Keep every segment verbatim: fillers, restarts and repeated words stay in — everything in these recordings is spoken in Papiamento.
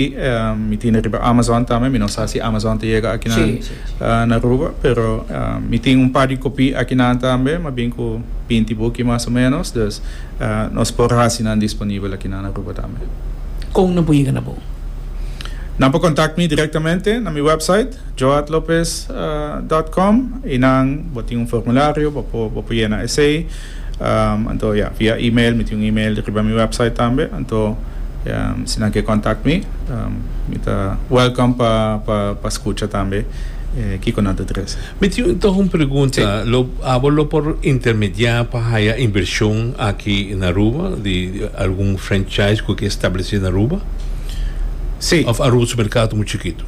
Um, mi tin riba Amazon tambe, mi no sa si Amazon ta yega aki na, Si, si, si. uh, na Aruba, pero uh, mi tin un par di copy aki na tambe, m'a bin cu binti buki mas o menos, dus uh, nos por haci nan disponibel aki na Aruba tambe. Con nan por yega na bo? Nan por contact mi directamente na mi website joadlopez punto com y nan bo tin un formulario, bo por bo por yena esey. Um, anto ja, via e-mail, mi tin un e-mail riba mi website tambe. Anto um, si nan kier contact mi, um, mi ta welcome pa pa pa scucha tambe eh, kico nan ta trece. Mi tin toch un pregunta. Lo, abo lo por intermedia pa haya inversion aki na Aruba, di, di algun franchise cu kier establece na Aruba? Si. Of Aruba su mercado mucho chikito?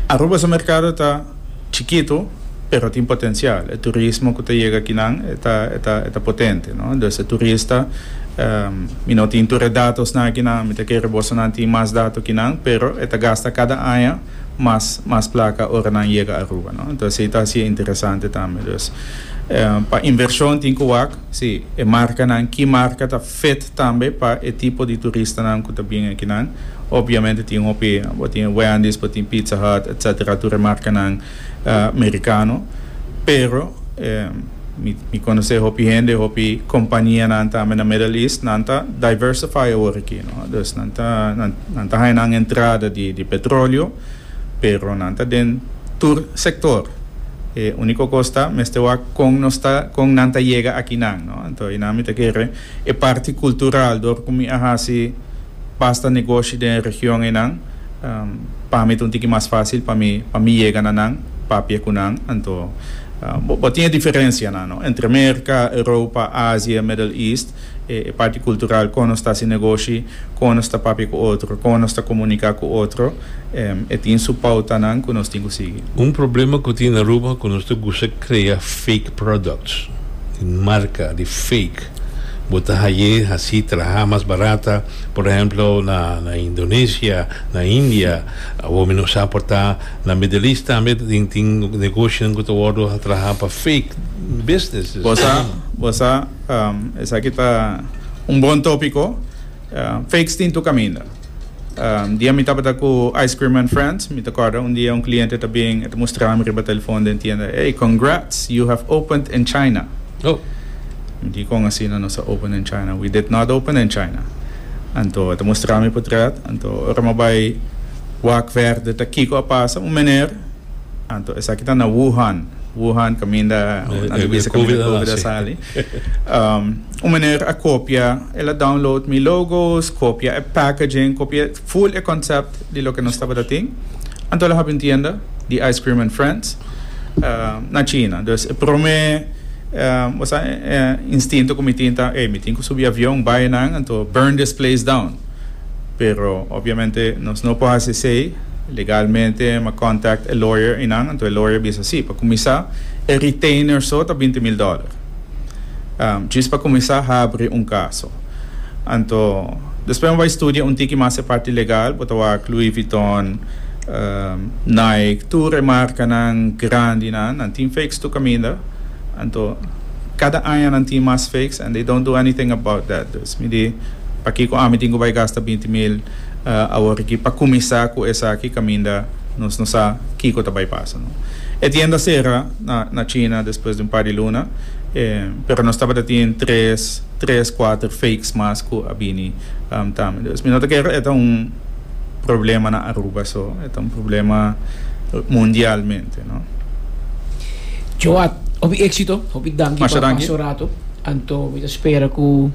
Aruba su mercado ta chikito, pero tin potencial. E turismo cu ta yega aki nan ta ta ta potente, no? Anto, e turista, um, mi no tin tur datonan aki nan, mi ta kere boso nan tin mas dato cu nan, pero e ta gasta cada aña mas mas placa ora nan yega Aruba, no? Anto, esey ta asina interesante tambe. Anto, um, pa inversion tin cu wak, si, e marca nan, ki marca ta fit tambe pa e tipo di turista nan cu ta bin aki nan. Obviamente tin hopi, bo tin Wendy's, bo tin Pizza Hut, et cetera, tur marca nan uh, americano, pero eh, mi, mi conoce hopi hende, hopi compania nan tambe na Middle East, nan ta diversify awor aki, no? Dus nan ta nan, nan ta nan entrada di, di petroleo, pero nan ta den tur sector. E unico cos ta, mester wak con nos ta, con nan ta yega aki nan, no? Anto, y nan mi ta kere e parti cultural, door cu mi a hasi basta negoshi den region ey nan, um, pa mi un tiki mas facil pa mi pa mi yega na nan, papia cu nan. Anto, uh, bo, bo tin diferencia nan, no? Entre America, Europa, Asia, Middle East, e, e parti cultural, con nos ta haci negoshi, con nos ta papia cu otro, con nos ta comunica cu otro, um, e tin su pauta nan cu nos tin cu sigui. Un problema cu tin na Aruba cu nos ta gusta crea fake products. Di marca, di fake. Bo ta haye asina traha mas barata, por ehempel, na, na Indonesia, na India, of menos aporta na Middle East tambe, tin, tin negoshi cu ta wordo traha pa fake business. Bo sa, bo sa, um, esaki ta un bon topico. Uh, fakes tin tur caminda. Um, dia mi tabata cu Ice Cream and Friends, mi ta corda un dia un cliente ta bin, ta mustra mi riba telefon den tienda: "Hey, congrats, you have opened in China." Oh. Mi di: "Con asina nos a open in China? We did not open in China." Anto, ta mustra mi portret, anto, ora m'a bay wak verder, ta kico a pasa, un meneer, anto, esaki ta na Wuhan, Wuhan caminda, Eh, na eh, bisa COVID caminda COVID a a sali. Um, un meneer a copia, el a download mi logos, copia e packaging, copia full e concept di loke nos tabata tin. Anto el a habri un tienda di Ice Cream and Friends uh, na China. Dus prome um, o sea, eh, instinto cu mi tin ta, eh, mi tin cu subi avion, bay nan, anto burn this place down. Pero obviamente nos no por haci esey legalmente. M'a contact e lawyer y nan, anto e lawyer bisa si, pa cuminsa, e retainer so ta binti mil dollar. Um, djis pa cuminsa habri un caso. Anto, despues bay studia un tiki mas e parti legal, bo ta wak Louis Vuitton, um, Nike, tur marca nan grandi nan, nan tin fakes tur caminda. Anto, cada aña nan tin mas fakes and they don't do anything about that. Dus mi di, pakico ami tin cu bay gasta binti mil uh, awor aki pa cuminsa cu esaki caminda nos no sa kico ta bay pasa, no? E tienda a cera na, na China despues di un par di luna, eh, pero nos tabata tin tres, tres, cuater fakes mas cu a bini um, tambe. Dus mi no ta kere e un problema na Aruba so, e un problema mundialmente, no? Joat, hopi exito, hopi danki Masha pa danki. pasa rato. Anto, mi ta spera cu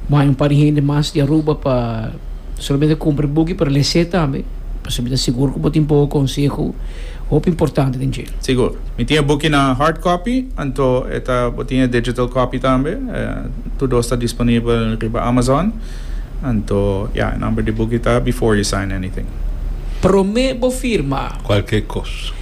mas un par di hende mas di Aruba pa solamente cumpra buki, pero lesa tambe. Pa mi ta sigur cu tin poco conseho, hopi importante den dje. Sigur. Mi tin buki na hard copy, anto e ta bo tin digital copy tambe. Eh, tur ta disponibel riba Amazon. Anto, ja, nomber di buki ta Before You Sign Anything. Prome bo firma. Cualkier cos.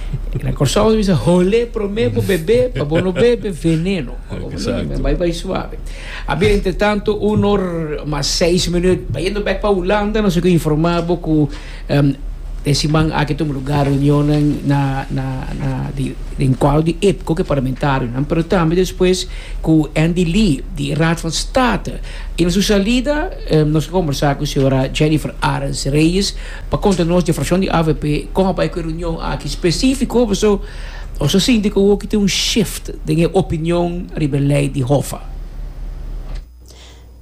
Na Corsou bisa hole prome bo bebe, pa bo no bebe veneno. Exacto. Bay bay suave. A ber, entre tanto, un or mas seis minuut, bayendo back pa Hulanda, nos a informa cu um, E siman aki a tuma lugá reunion na na na di den kuadro di IPKO, ku e parlamentarionan, pero tambe despues ku Andy Lee di Raad van State. I na su salida eh, nos a kombersá ku señora Jennifer Arends Reyes pa konta nos di frakshon di A V P kon a bai ku e reunion aki spesífiko, so o so sinti ku tin un shift den opinion riba lei di HOFA.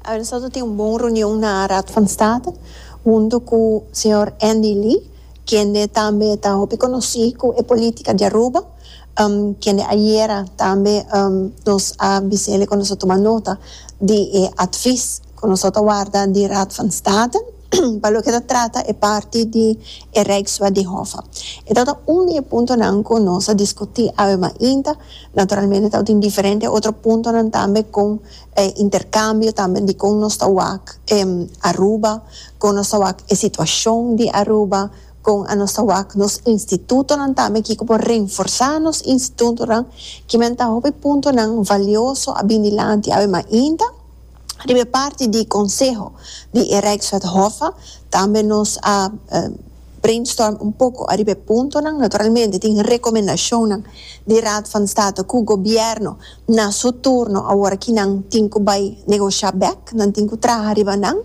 Nos tin un bon reunion na Raad van State, huntu ku señor Andy Lee, kende tambe ta hopi konosí ku e polítika di Aruba, um, kende ayera tambe um, nos a bis'é ku nos a tuma nota di eh, advies ku nos a warda di Raad van State, pa loke ta trata e parti di e Rijkswet di HOFA. E tabata un di e puntonan ku nos a diskutí awe mainta. Naturalmente tabatin diferente otro puntonan tambe ku eh, interkambio tambe di kon nos ta wak eh, Aruba, kon nos ta wak e situashon di Aruba, kon nos ta wak nos institutonan tambe, ku por reforsá nos institutonan, ke men ta hopi puntonan valioso a bin dilanti awe mainta. Riba parti di konseho di Rijkswet HOFA, tambe nos a uh, brainstorm un poko ariba puntonan. Naturalmente tin rekomendashon di Raad van State ku gobièrnu na su turno awor ku nan tin ku bai negoshá back, nan tin ku traha riba nan.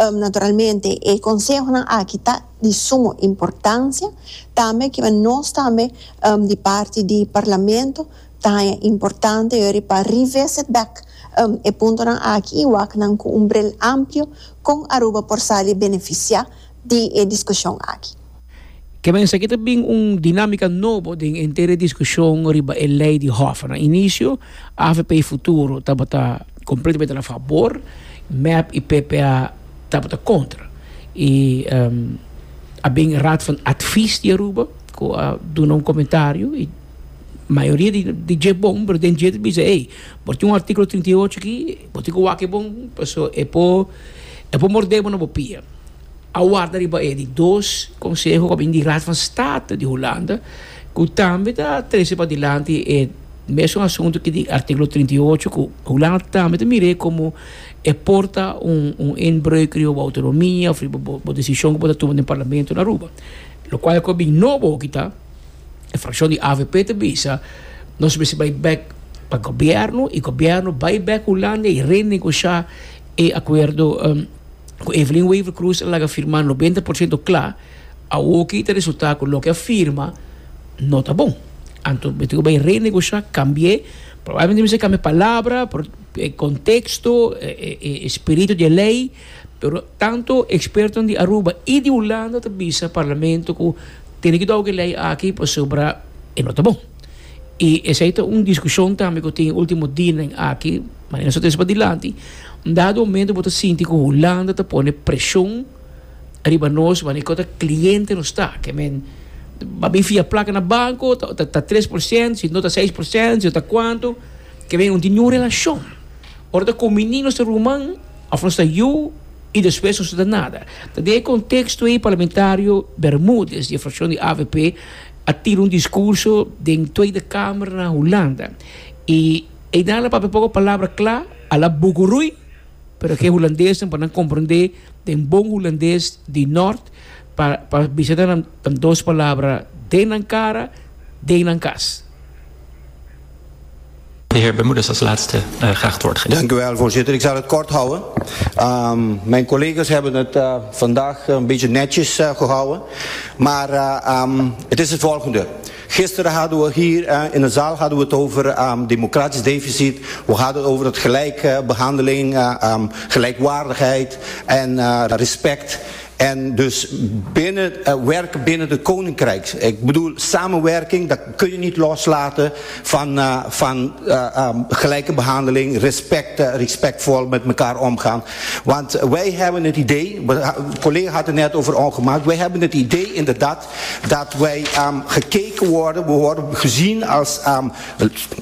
Um, naturalmente e konsehonan aki ta di sumo importansia tambe, ku nos tambe um, di parti di parlamento ta importante pa revisit back um, e puntonan aki i wak nan ku un bril amplio kon Aruba por sali benefisiá di e diskushon aki. Ke men esaki tambe un dinámika nobo den henter diskushon riba e lei di HOFA. Na inisio, A V P Futuro tabata kompletamente na fabor, M E P i P P A tabata kontra. I um, a bin Raad van Advies di Aruba, ku a duna un komentario i mayoria di di dje bon, pero den dje bisa, ei, bo tin un artíkulo trinta i ocho aki, bo tin ku wak bon, paso e por e por morde bo na pia. A warda riba e di dos konseho ku di Raad van State di Hulanda, ku tambe ta trese pa dilanti e mesun asuntu ku di artíkulo trinta i ocho, ku Hulanda tambe ta mir'é komo e por ta un un inbreuk riba outonomia òf riba desishon ku por tuma den parlamento na Aruba. Lo kual ku bin nobo ku ta e frakshon di A V P ta bisa nos mester bai back pa gobièrnu i gobièrnu bai back Hulanda i renegoshá e akuerdo um, ku Evelyn Wever-Croes a laga firma nobenta porshento kla. Awor ku ta resultá ku loke a firma no ta bon. Anto, bo bai renegoshá, kambia, probablemente bo kambia palabra, por, eh, konteksto, eh, eh, spiritu di lei, pero tantu eksperto di Aruba i di Hulanda ta bisa parlamento ku tin ku dòg e lei aki pasobra e no ta bon. I esei ta un diskushon tambe ku tin último dianan aki, ma nos ta dilanti. Un dado momento bo ta sinti ku Hulanda ta pone preshon riba nos, ma ku kliente no ta, ke men bai fia plaka na banko, ta, ta, ta tres porshento, si no ta seis porshento, si ta kuantu, ke men no tin ningun relashon. Ora ta kombiní nos ruman, òf nos yu, i despues no ta nada. Den e konteksto ei parlamentario Bermudez, di frakshon di A V P, a tira un diskurso den Tweede Kamer na Hulanda. I e el a papia poko palabra kla, a la bugurui, pero ku hulandes pa nan komprondé, den bon hulandes di nort, pa pa bisa nan dos palabra: den nan kara, den nan kas. De heer Bermudez als laatste uh, graag het woord geven. Dank u wel, voorzitter. Ik zal het kort houden. Um, mijn collega's hebben het uh, vandaag een beetje netjes uh, gehouden. Maar uh, um, het is het volgende. Gisteren hadden we hier uh, in de zaal hadden we het over um, democratisch deficit. We hadden het over het gelijke behandeling, uh, um, gelijkwaardigheid en uh, respect. En dus binnen, uh, werken binnen het koninkrijk. Ik bedoel, samenwerking, dat kun je niet loslaten van, uh, van uh, um, gelijke behandeling, respect, uh, respectvol met elkaar omgaan. Want wij hebben het idee, de collega had het net over ongemak, wij hebben het idee inderdaad dat wij um, gekeken worden, we worden gezien als um,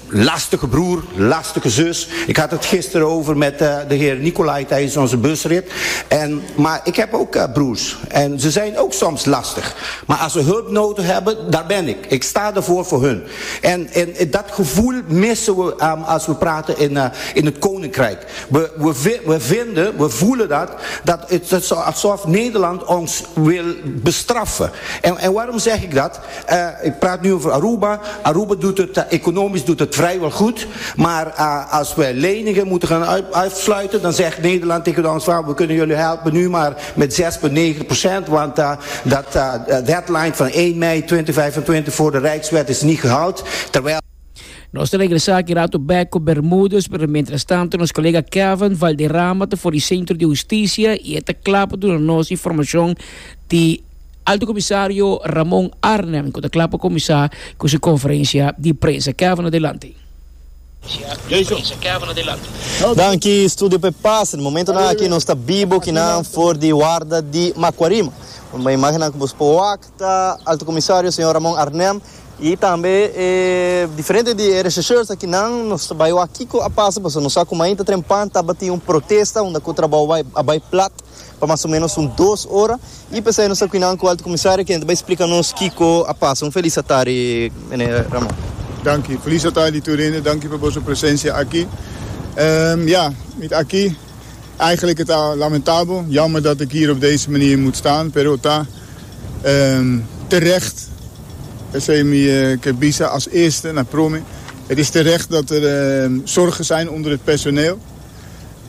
lastige broer, lastige zus. Ik had het gisteren over met uh, de heer Nicolai tijdens onze busrit. En, maar ik heb ook uh, broers. broers. En ze zijn ook soms lastig. Maar als ze hulp nodig hebben, daar ben ik. Ik sta ervoor voor hun. En, en dat gevoel missen we um, als we praten in, uh, in het Koninkrijk. We, we, we vinden, we voelen dat, dat het, het alsof Nederland ons wil bestraffen. En, en waarom zeg ik dat? Uh, ik praat nu over Aruba. Aruba doet het, uh, economisch doet het vrijwel goed. Maar uh, als we leningen moeten gaan uit, uitsluiten, dan zegt Nederland tegen ons van, we kunnen jullie helpen nu maar met zes komma negen procent, want uh, dat uh, deadline van één mei tweeduizend vijfentwintig voor de Rijkswet is niet gehaald. Terwijl Nos ta regresa aki rato back cu Bermudez, pero mientras tanto nos colega Kevin Valderrama ta for di Centro di Husticia y ta cla pa duna nos informacion di Alto Comisario Ramon Arnhem, cu ta cla pa cuminsa cu su conferencia di prensa. Kevin, adelante. Kevin, adelante. Danki, Studio P Pass. Na momento aki nos ta bibo aki na for di warda di Macuarima. Un imagen cu bo ta Alto Comisario señor Ramon Arnhem y tambe eh, diferente di rechercheurs aki nan. Nos bay aki a pasa, paso nos sa cu mainta trempan tabatin un protesta unda cu trabou a bay plat pa mas o menos un dos ora y pesey nos aki nan cu Alto Comisario, cu bay splica nos kico a pasa. Un feliz tardi, meneer Ramon. Dank u. Feliz tardi, tur hende. Dank u pa bo presencia aki. Um, ja, met aki eigenlijk het al lamentabel. Jammer dat ik hier op deze manier moet staan. Pero ta um, terecht. Mi ke bisa als eerste na prome. Het is terecht dat er uh, zorgen zijn onder het personeel.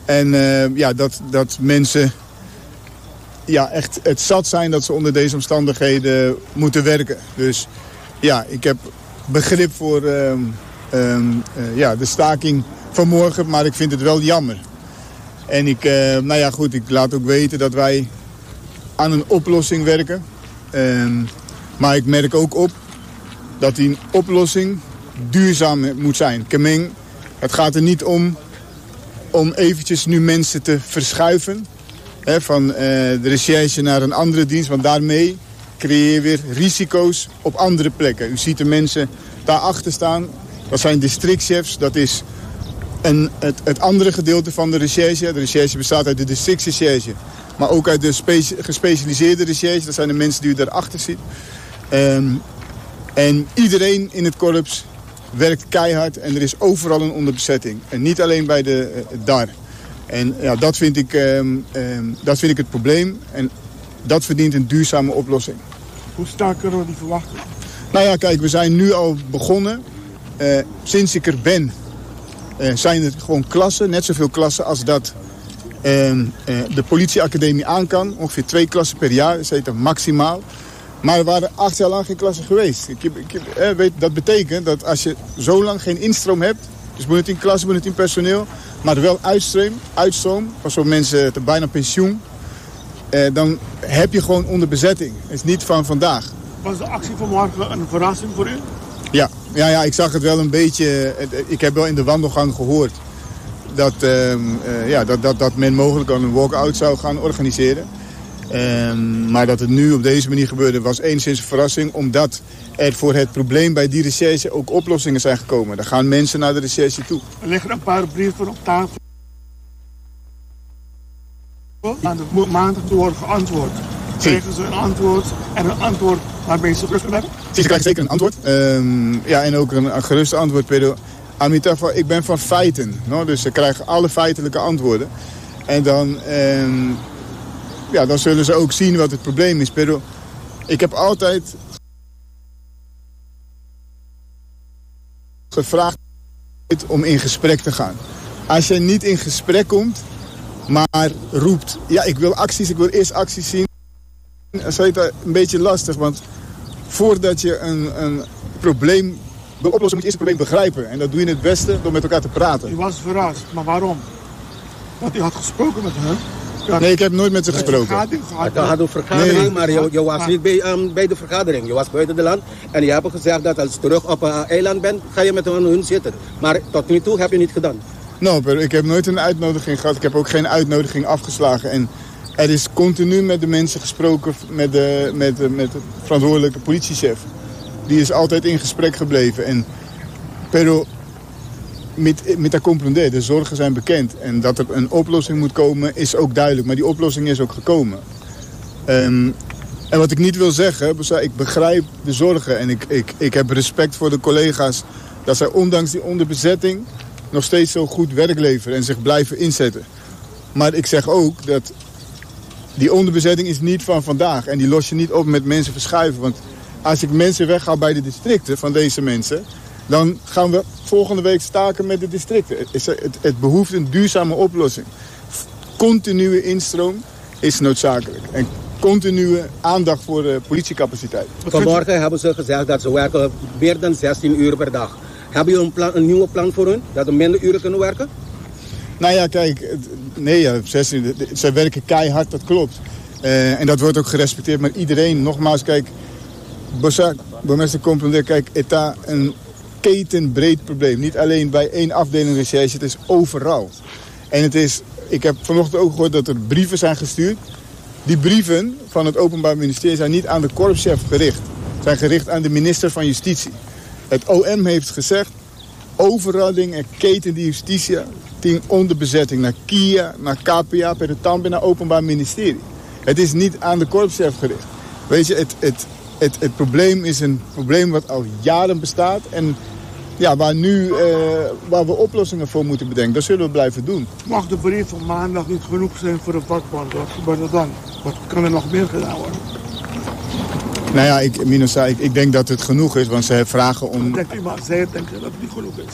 En uh, ja, dat, dat mensen, ja, echt het zat zijn dat ze onder deze omstandigheden moeten werken. Dus ja, ik heb begrip voor uh, um, uh, ja, de staking vanmorgen, maar ik vind het wel jammer. En ik, uh, nou ja, goed, ik laat ook weten dat wij aan een oplossing werken. Um, maar ik merk ook op dat die oplossing duurzaam moet zijn. Ke men, het gaat er niet om om eventjes nu mensen te verschuiven, hè, van uh, de recherche naar een andere dienst. Want daarmee creëer je weer risico's op andere plekken. U ziet de mensen daarachter staan. Dat zijn districtchefs. Dat is een, het, het andere gedeelte van de recherche. De recherche bestaat uit de districtsrecherche, maar ook uit de gespecialiseerde recherche. Dat zijn de mensen die u daarachter ziet. Um, en iedereen in het korps werkt keihard en er is overal een onderbezetting. En niet alleen bij de uh, D A R. En ja, dat vind ik, um, um, dat vind ik het probleem. En dat verdient een duurzame oplossing. Hoe snel kunnen we die verwachten? Nou ja, kijk, we zijn nu al begonnen. Uh, sinds ik er ben, uh, zijn er gewoon klassen. Net zoveel klassen als dat uh, de politieacademie aan kan. Ongeveer twee klassen per jaar, dat heet maximaal. Maar er waren acht jaar lang geen klassen geweest. Ik, ik, eh, weet, dat betekent dat als je zo lang geen instroom hebt, dus moet het in klassen, moet het in personeel, maar wel uitstroom, uitstroom van zo'n mensen te bijna pensioen, eh, dan heb je gewoon onderbezetting. Het is niet van vandaag. Was de actie van morgen een verrassing voor u? Ja, ja, ja, ik zag het wel een beetje. Ik heb wel in de wandelgang gehoord dat, uh, uh, ja, dat, dat, dat men mogelijk al een walk-out zou gaan organiseren. Um, maar dat het nu op deze manier gebeurde, was enigszins een verrassing, omdat er voor het probleem bij die recherche ook oplossingen zijn gekomen. Er gaan mensen naar de recherche toe. Er liggen een paar brieven op tafel. Aan de maandag te worden geantwoord. Krijgen ze een antwoord en een antwoord waarmee ze terug hebben? Ze krijgen zeker een antwoord. Um, ja, en ook een, een gerust antwoord. Pero Amitafa, ik ben van feiten. No? Dus ze krijgen alle feitelijke antwoorden. En dan, um, ja, dan zullen ze ook zien wat het probleem is. Pero ik heb altijd gevraagd om in gesprek te gaan. Als je niet in gesprek komt, maar roept: ja, ik wil acties, ik wil eerst acties zien, dan is het een beetje lastig, want voordat je een, een probleem wil oplossen, moet je eerst het probleem begrijpen. En dat doe je het beste door met elkaar te praten. U was verrast, maar waarom? Want u had gesproken met hen. Nee, ik heb nooit met ze gesproken. Het had een vergadering, nee, maar je, je was niet bij, um, bij de vergadering. Je was buiten het land en je hebt gezegd dat als je terug op een uh, eiland bent, ga je met hun zitten. Maar tot nu toe heb je niet gedaan. Nou, pero ik heb nooit een uitnodiging gehad. Ik heb ook geen uitnodiging afgeslagen. En er is continu met de mensen gesproken, met de, met de, met de verantwoordelijke politiechef. Die is altijd in gesprek gebleven. En, pero met, mi ta comprende, de zorgen zijn bekend. En dat er een oplossing moet komen is ook duidelijk. Maar die oplossing is ook gekomen. Um, en wat ik niet wil zeggen, ik begrijp de zorgen en ik, ik, ik heb respect voor de collega's dat zij ondanks die onderbezetting nog steeds zo goed werk leveren en zich blijven inzetten. Maar ik zeg ook dat die onderbezetting is niet van vandaag en die los je niet op met mensen verschuiven. Want als ik mensen weghaal bij de districten van deze mensen, dan gaan we volgende week staken met de districten. Het, het, het behoeft een duurzame oplossing. Continue instroom is noodzakelijk. En continue aandacht voor de politiecapaciteit. Vanmorgen hebben ze gezegd dat ze werken meer dan zestien uur per dag. Hebben jullie een, plan, een nieuwe plan voor hun? Dat ze minder uren kunnen werken? Nou ja, kijk, nee, ja, zestien, zij werken keihard, dat klopt. Uh, en dat wordt ook gerespecteerd. Maar iedereen, nogmaals, kijk, burgemeester Comprender, kijk, het is een ketenbreed probleem. Niet alleen bij één afdeling recherche, het is overal. En het is, ik heb vanochtend ook gehoord dat er brieven zijn gestuurd. Die brieven van het Openbaar Ministerie zijn niet aan de korpschef gericht. Zijn gericht aan de minister van Justitie. Het O M heeft gezegd, overal dingen, keten die justitie, tien onderbezetting naar K I A, naar K P A, per de Tambe, naar Openbaar Ministerie. Het is niet aan de korpschef gericht. Weet je, het, het, het, het probleem is een probleem wat al jaren bestaat en ja, waar, nu, eh, waar we oplossingen voor moeten bedenken. Dat zullen we blijven doen. Mag de brief van maandag niet genoeg zijn voor de vakbond? Wat gebeurt er dan? Wat kan er nog meer gedaan worden? Nou ja, ik, Minosa, ik, ik denk dat het genoeg is, want ze vragen om... Denkt u maar, zij denken dat het niet genoeg is.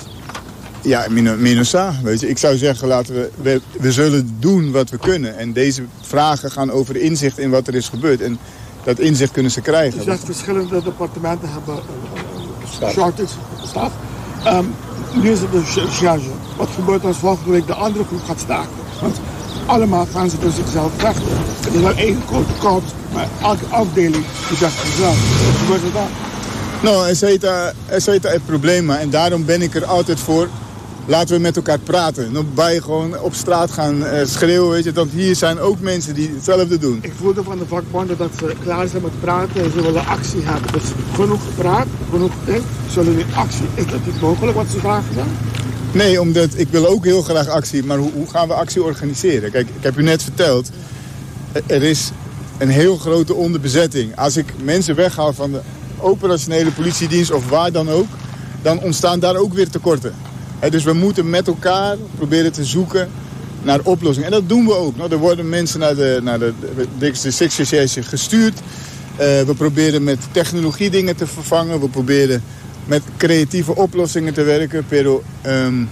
Ja, Minosa, weet je, ik zou zeggen, laten we, we, we zullen doen wat we kunnen. En deze vragen gaan over inzicht in wat er is gebeurd. En dat inzicht kunnen ze krijgen. Dus dat verschillende departementen hebben uh, shortage, staf. Um, nu is het de charge. Wat gebeurt als volgende week de andere groep gaat staken? Want allemaal gaan ze dus zichzelf vechten. Het is wel één grote korps, maar elke afdeling die vecht zichzelf. Wat gebeurt er dan? Nou, er zit het probleem, en daarom ben ik er altijd voor. Laten we met elkaar praten. Nog bij gewoon op straat gaan uh, schreeuwen, weet je. Want hier zijn ook mensen die hetzelfde doen. Ik voelde van de vakbonden dat ze klaar zijn met praten en ze willen actie hebben. Dus genoeg gepraat, genoeg gedenkt, ze willen nu actie. Is dat niet mogelijk wat ze vragen dan? Nee, omdat ik wil ook heel graag actie. Maar hoe, hoe gaan we actie organiseren? Kijk, ik heb u net verteld, er is een heel grote onderbezetting. Als ik mensen weghaal van de operationele politiedienst of waar dan ook, dan ontstaan daar ook weer tekorten. He, dus we moeten met elkaar proberen te zoeken naar oplossingen. En dat doen we ook. Nou, er worden mensen naar de, naar de, de districtsrecherche gestuurd. Uh, we proberen met technologie dingen te vervangen. We proberen met creatieve oplossingen te werken. Pero um,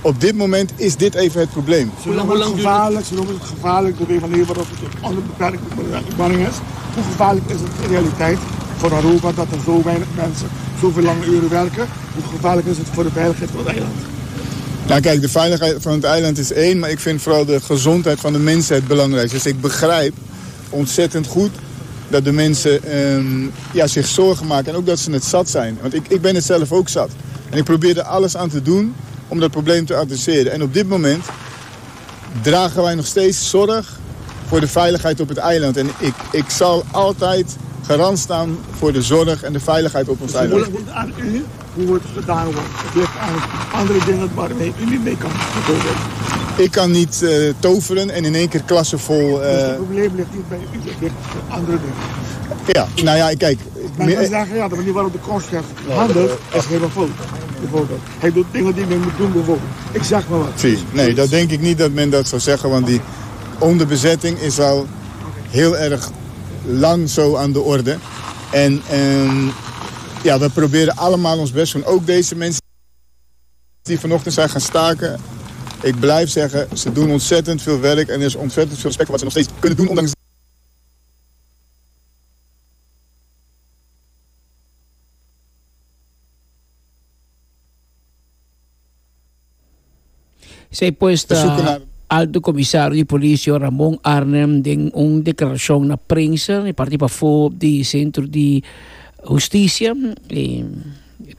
op dit moment is dit even het probleem. Ze noemen het gevaarlijk, ze noemen het gevaarlijk door de manier waarop het onder beperking is. Hoe gevaarlijk is het in realiteit voor Aruba dat er zo weinig mensen zoveel lange uren werken? Hoe gevaarlijk is het voor de veiligheid van het eiland? Nou kijk, de veiligheid van het eiland is één, maar ik vind vooral de gezondheid van de mensen het belangrijkste. Dus ik begrijp ontzettend goed dat de mensen um, ja, zich zorgen maken en ook dat ze het zat zijn. Want ik, ik ben het zelf ook zat. En ik probeer er alles aan te doen om dat probleem te adresseren. En op dit moment dragen wij nog steeds zorg voor de veiligheid op het eiland. En ik, ik zal altijd garant staan voor de zorg en de veiligheid op ons dus eiland. Het ligt aan u hoe het gedaan wordt. Het ligt aan andere dingen waarmee u niet mee kan. Bijvoorbeeld. Ik kan niet uh, toveren en in één keer klassen vol... Uh... Dus het probleem ligt niet bij u, het ligt bij andere dingen. Ja, nou ja, kijk... Men kan zeggen, ja, de manier waarop de korpschef handelt is helemaal fout. Bijvoorbeeld. Hij doet dingen die men moet doen, bijvoorbeeld. Ik zeg maar wat. Zie, nee, dat denk ik niet dat men dat zou zeggen, want die onderbezetting is al heel erg lang zo aan de orde. En um, ja, we proberen allemaal ons best te doen. Ook deze mensen die vanochtend zijn gaan staken. Ik blijf zeggen, ze doen ontzettend veel werk en er is ontzettend veel respect voor wat ze nog steeds kunnen doen, ondanks Zij puesta alto commissario di politie Ramon Arnhem den un declaración na prensa e parte pa fo di centro di justicia e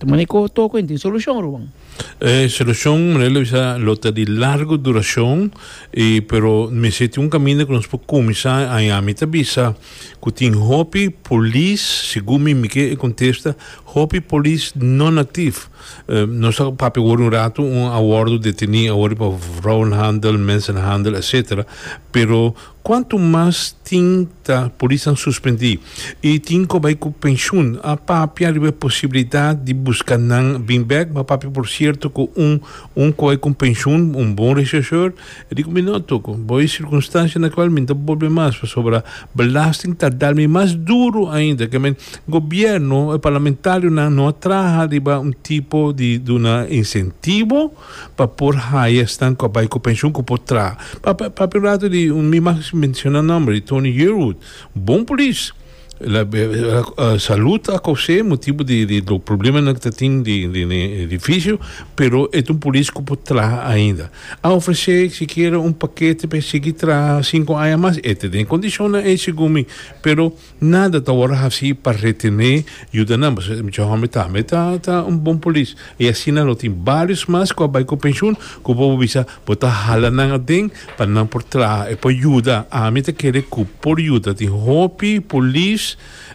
maneco tocco in soluzione Ruben. E solucion, manera bisa, lo ta di largo duracion, e, pero mester tin un caminda cu nos por cuminsa. Ami ta bisa cu tin hopi polis, segun mi, mi kier contesta, hopi polis non actief. Uh, nos a papia un rato, un a wordo deteni awor pa vrouwenhandel, mensenhandel, et cetera. Pero cuanto mas tin ta polis suspendi y tin cu bay cu pensioen, a papia riba posibilidad di busca nan bin back, ma papia, por cierto, cu un un cu bay cu pensioen, un bon rechercheur, e di mi no toco, bo circunstancia na cual mi ta bolbe mas, sobre belasting ta dal mi mas duro ainda, kiermen gobierno e parlamentario nan no traha riba un tipo di duna incentivo pa por haya esnan cu bay cu pensioen cu por traha. Pa pa pa rato di un mi mag menciona nomber di Tony Yearwood, bon polis. La, la, la salud a causa motibo di, di, di problema cu tin di, di, di edificio, pero e un polis cu por traha ainda. A ofrece sikiera un pakete pa sigui traha cinco aña mas, e tin condicion e segun mi, pero nada ta awor asina pa retene yuda nan, mucho homber tambe ta ta un bon polis. Y asina no tin varios mas cu bay cu pensioen, cu bo bisa, bo ta hala nan aden pa nan por traha e por yuda. Ami ta kere cu por yuda. Tin hopi polis,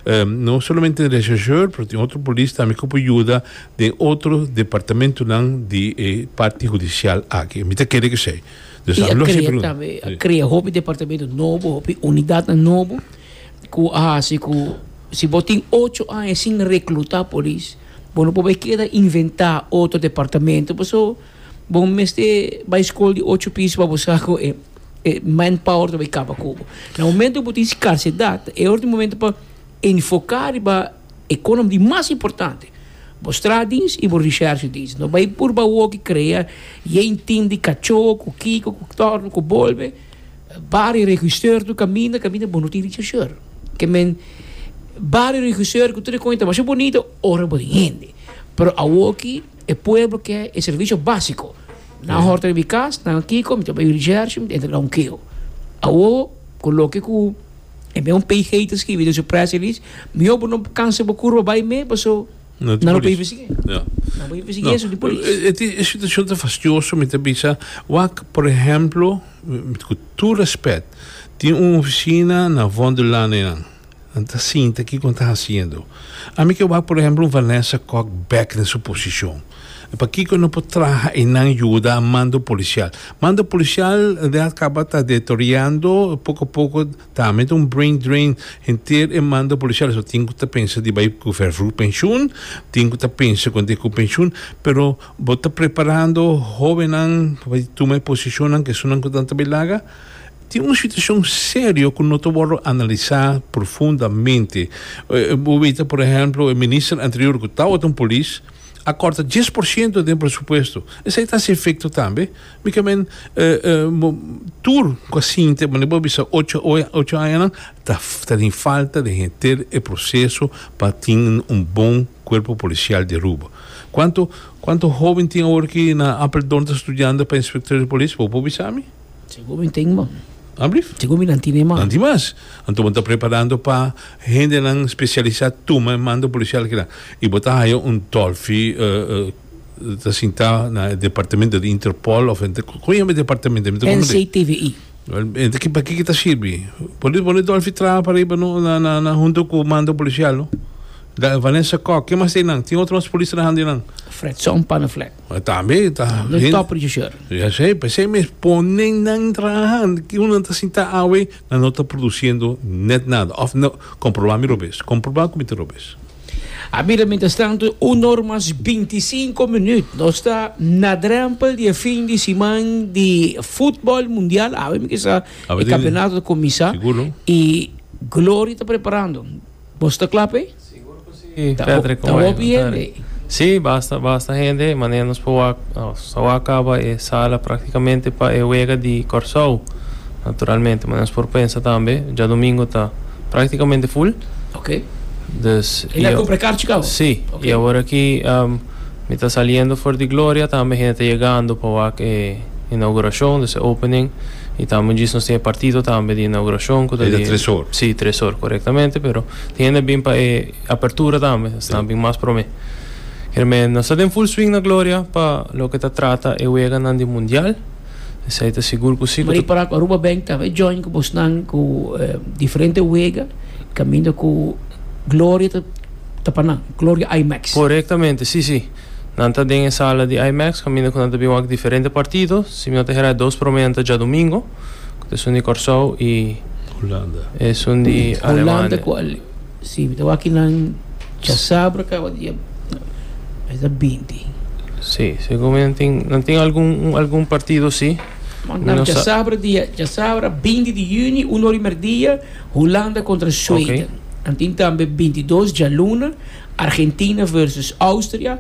um, no solamente rechercheur, pero tin otro polis tambe cu por yuda di otro departamento nan di eh, parti hudicial aki. Mi ta kere cu esey. Dus Y a lo crea tambe, a crea hopi departamento nobo, hopi unidad nobo, cu ah, si cu si bo tin ocho aña sin recluta polis, bo no por keda inventa otro departamento, paso bo mester bay scol di ocho piso pa busca cu e, e manpower tambe caba cu bo. Na momento cu tin scarcedad, e otro momento pa enfoca riba economia mas importante. Bo straatdienst y bo recherchedienst. No bay por ba cu crea un team di cacho, cu kiko, cu torno, cu bolbe. Bari regisseur do caminho, caminho bom, não tem regisseur. Kiermen bari regisseur cu tur conta, mas ta bunita, ora bo hende. Pero awoki e pueblo kier e servicio basico. Na horta di cas, na kiko, mi bay recherche, mi entrega un keho. Awo, coloque cu e un P G te skirbi den su press release, mi bo no cansa bo curva bay me, paso No, no no investiga. Ja. No por investiga esey di polis. E, e situacion ta fastioso, mi ta bisa, wak, por ehempel, cu tur respet, tin un oficina na Vondellaan nan. Anto sinta aki con ta haciendo. Ami kier wak, por ehempel, un Vanessa Kock back den su posicion. Pakico no por traha y nan yuda mando policial? Mando policial a caba ta deteriorando poco poco, tambe un brain drain henter e mando policial. So tin cu pensa di bay cu vervroeg pensioen, tin cu pensa cu cu pensioen, pero bo ta preparando hobennan pa tuma posicion cu son cu tanta belaga. Tin un situacion serio cu no ta analisa profundamente. Eh, por ehempel, e minister anterior cu tabata un polis a corta dies porciento di presupuesto. Esey ta e efecto tambe. Mi kiermen eh, eh, tur casi, ma bo bisa ocho ocho aña ta ta den falta di henter e proceso pa tin un bon cuerpo policial di Aruba. Cuanto cuanto hoben tin awor aki na Apeldoorn ta studiando pa inspector di polis? Bo bisa mi? Segun mi tin, man. Alblief? Segun mi nan tin mas. Nan tin mas. Anto, ta preparando pa hendenan specialisa tuma mando policial aki. Y bo ta haya un Dolfi uh, uh, ta sinta na departamento di Interpol of con e departamento? N C T V I. Anto, ki pa kico ta sirbi? Por pone Dolfi traha pa ariba no, na, na, na hunto cu mando policial, no? Da Vanessa Kock, ken mas tin nan? Tin otro polis trahando nan? Fredson Panneflek. Tambe ta. De top regisseur. Ja sei, pensei mes ponen nan trahando, cu un ta sinta awe, nan no ta produciendo net nada. Of no, comproba mi robes. Comproba cu mi robes. A mira, mientras tanto, un or mas binticinco minuut. Nos ta na drempel di fin di siman di futbol mundial. A ver, cu e campeonato a cuminsa. Sigur. Y Gloria ta preparando. Bo ta cla, eh? Si, Patrick, Ta hopi hende. Si, basta, basta hende. Manera nos por so caba e sala practicamente pa e wega di Corsou. Naturalmente, mas nos por pensa tambe, diadomingo ta practicamente full. Ok. Dus, El a cumpra kaarchi caba? Si, Ok. y awor aki um, mi ta saliendo for di Gloria, tambe hende ta yegando pa e inauguracion, dus opening. Y tambe djis nos tin partido tambe di inauguracion. E di tres or. Si, tres or, corectamente, pero tin hende bin pa e apertura tambe, ta bin mas prome. Kiermen, nos ta den full swing na Gloria pa loke ta trata e weganan di Mundial. Esey ta sigur cu si. Mas para Aruba Bank tambe join cu bosnan cu eh, diferente wega, caminda cu Gloria ta ta pa nan, Gloria IMAX. Corectamente, si, si. Nan ta den sala di IMAX, caminda cu nan ta bin wak diferente partido. Si mi no ta hera, dos prome ta diadomingo. Esun di Corsou y Hulanda. Esun di Hulanda Alemania. Cu si, mi aki nan diasabra caba dia e binti. Si, segun mi tin, nan tin algun algun partido, si. Nan No sa- diasabra dia diasabra binti di juni, un or y merdia, Hulanda contra Zweden. Ok. Y tin tambe bintidos dialuna, Argentina versus Austria.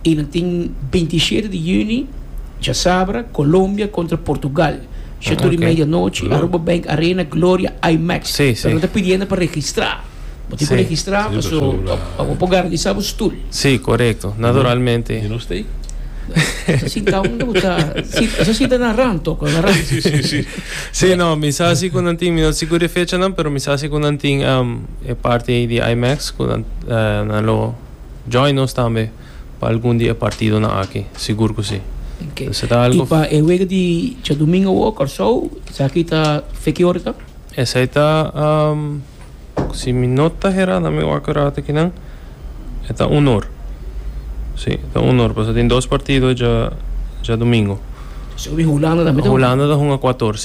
Y nan tin bintishete di juni, diasabra, Colombia contra Portugal. Shete Ah, y ok. mei di anochi, Aruba Bank Arena, Gloria IMAX. Si, si. Pero ta pidiendo pa registra. Bo tin cu Si. registra, Si, pa pasobra- pa garantisa e stoel. Si, corecto. Naturalmente. Y no stay? Sinta unda ta, esey sinta na rand, toca, na rand. Si, si, si. Si, no, mi sa si cu nan tin, mi no sigur e fecha no, pero mi sa si cu nan tin um, e parti di IMAX, cu nan, uh, nan lo join nos tambe pa algun dia partidonan aki, sigur cu si. Ok. Esey ta algo. Y pa e wega di diadomingo o Corsou, esaki ta fe ki ora ta? Esey ta um, si mi no ta hera, na mi wak aki nan, ta un or. Si, ta un or, pasobra tin dos partido dia diadomingo. Sobre Hulanda tambe. Hulanda ta hunga cuater,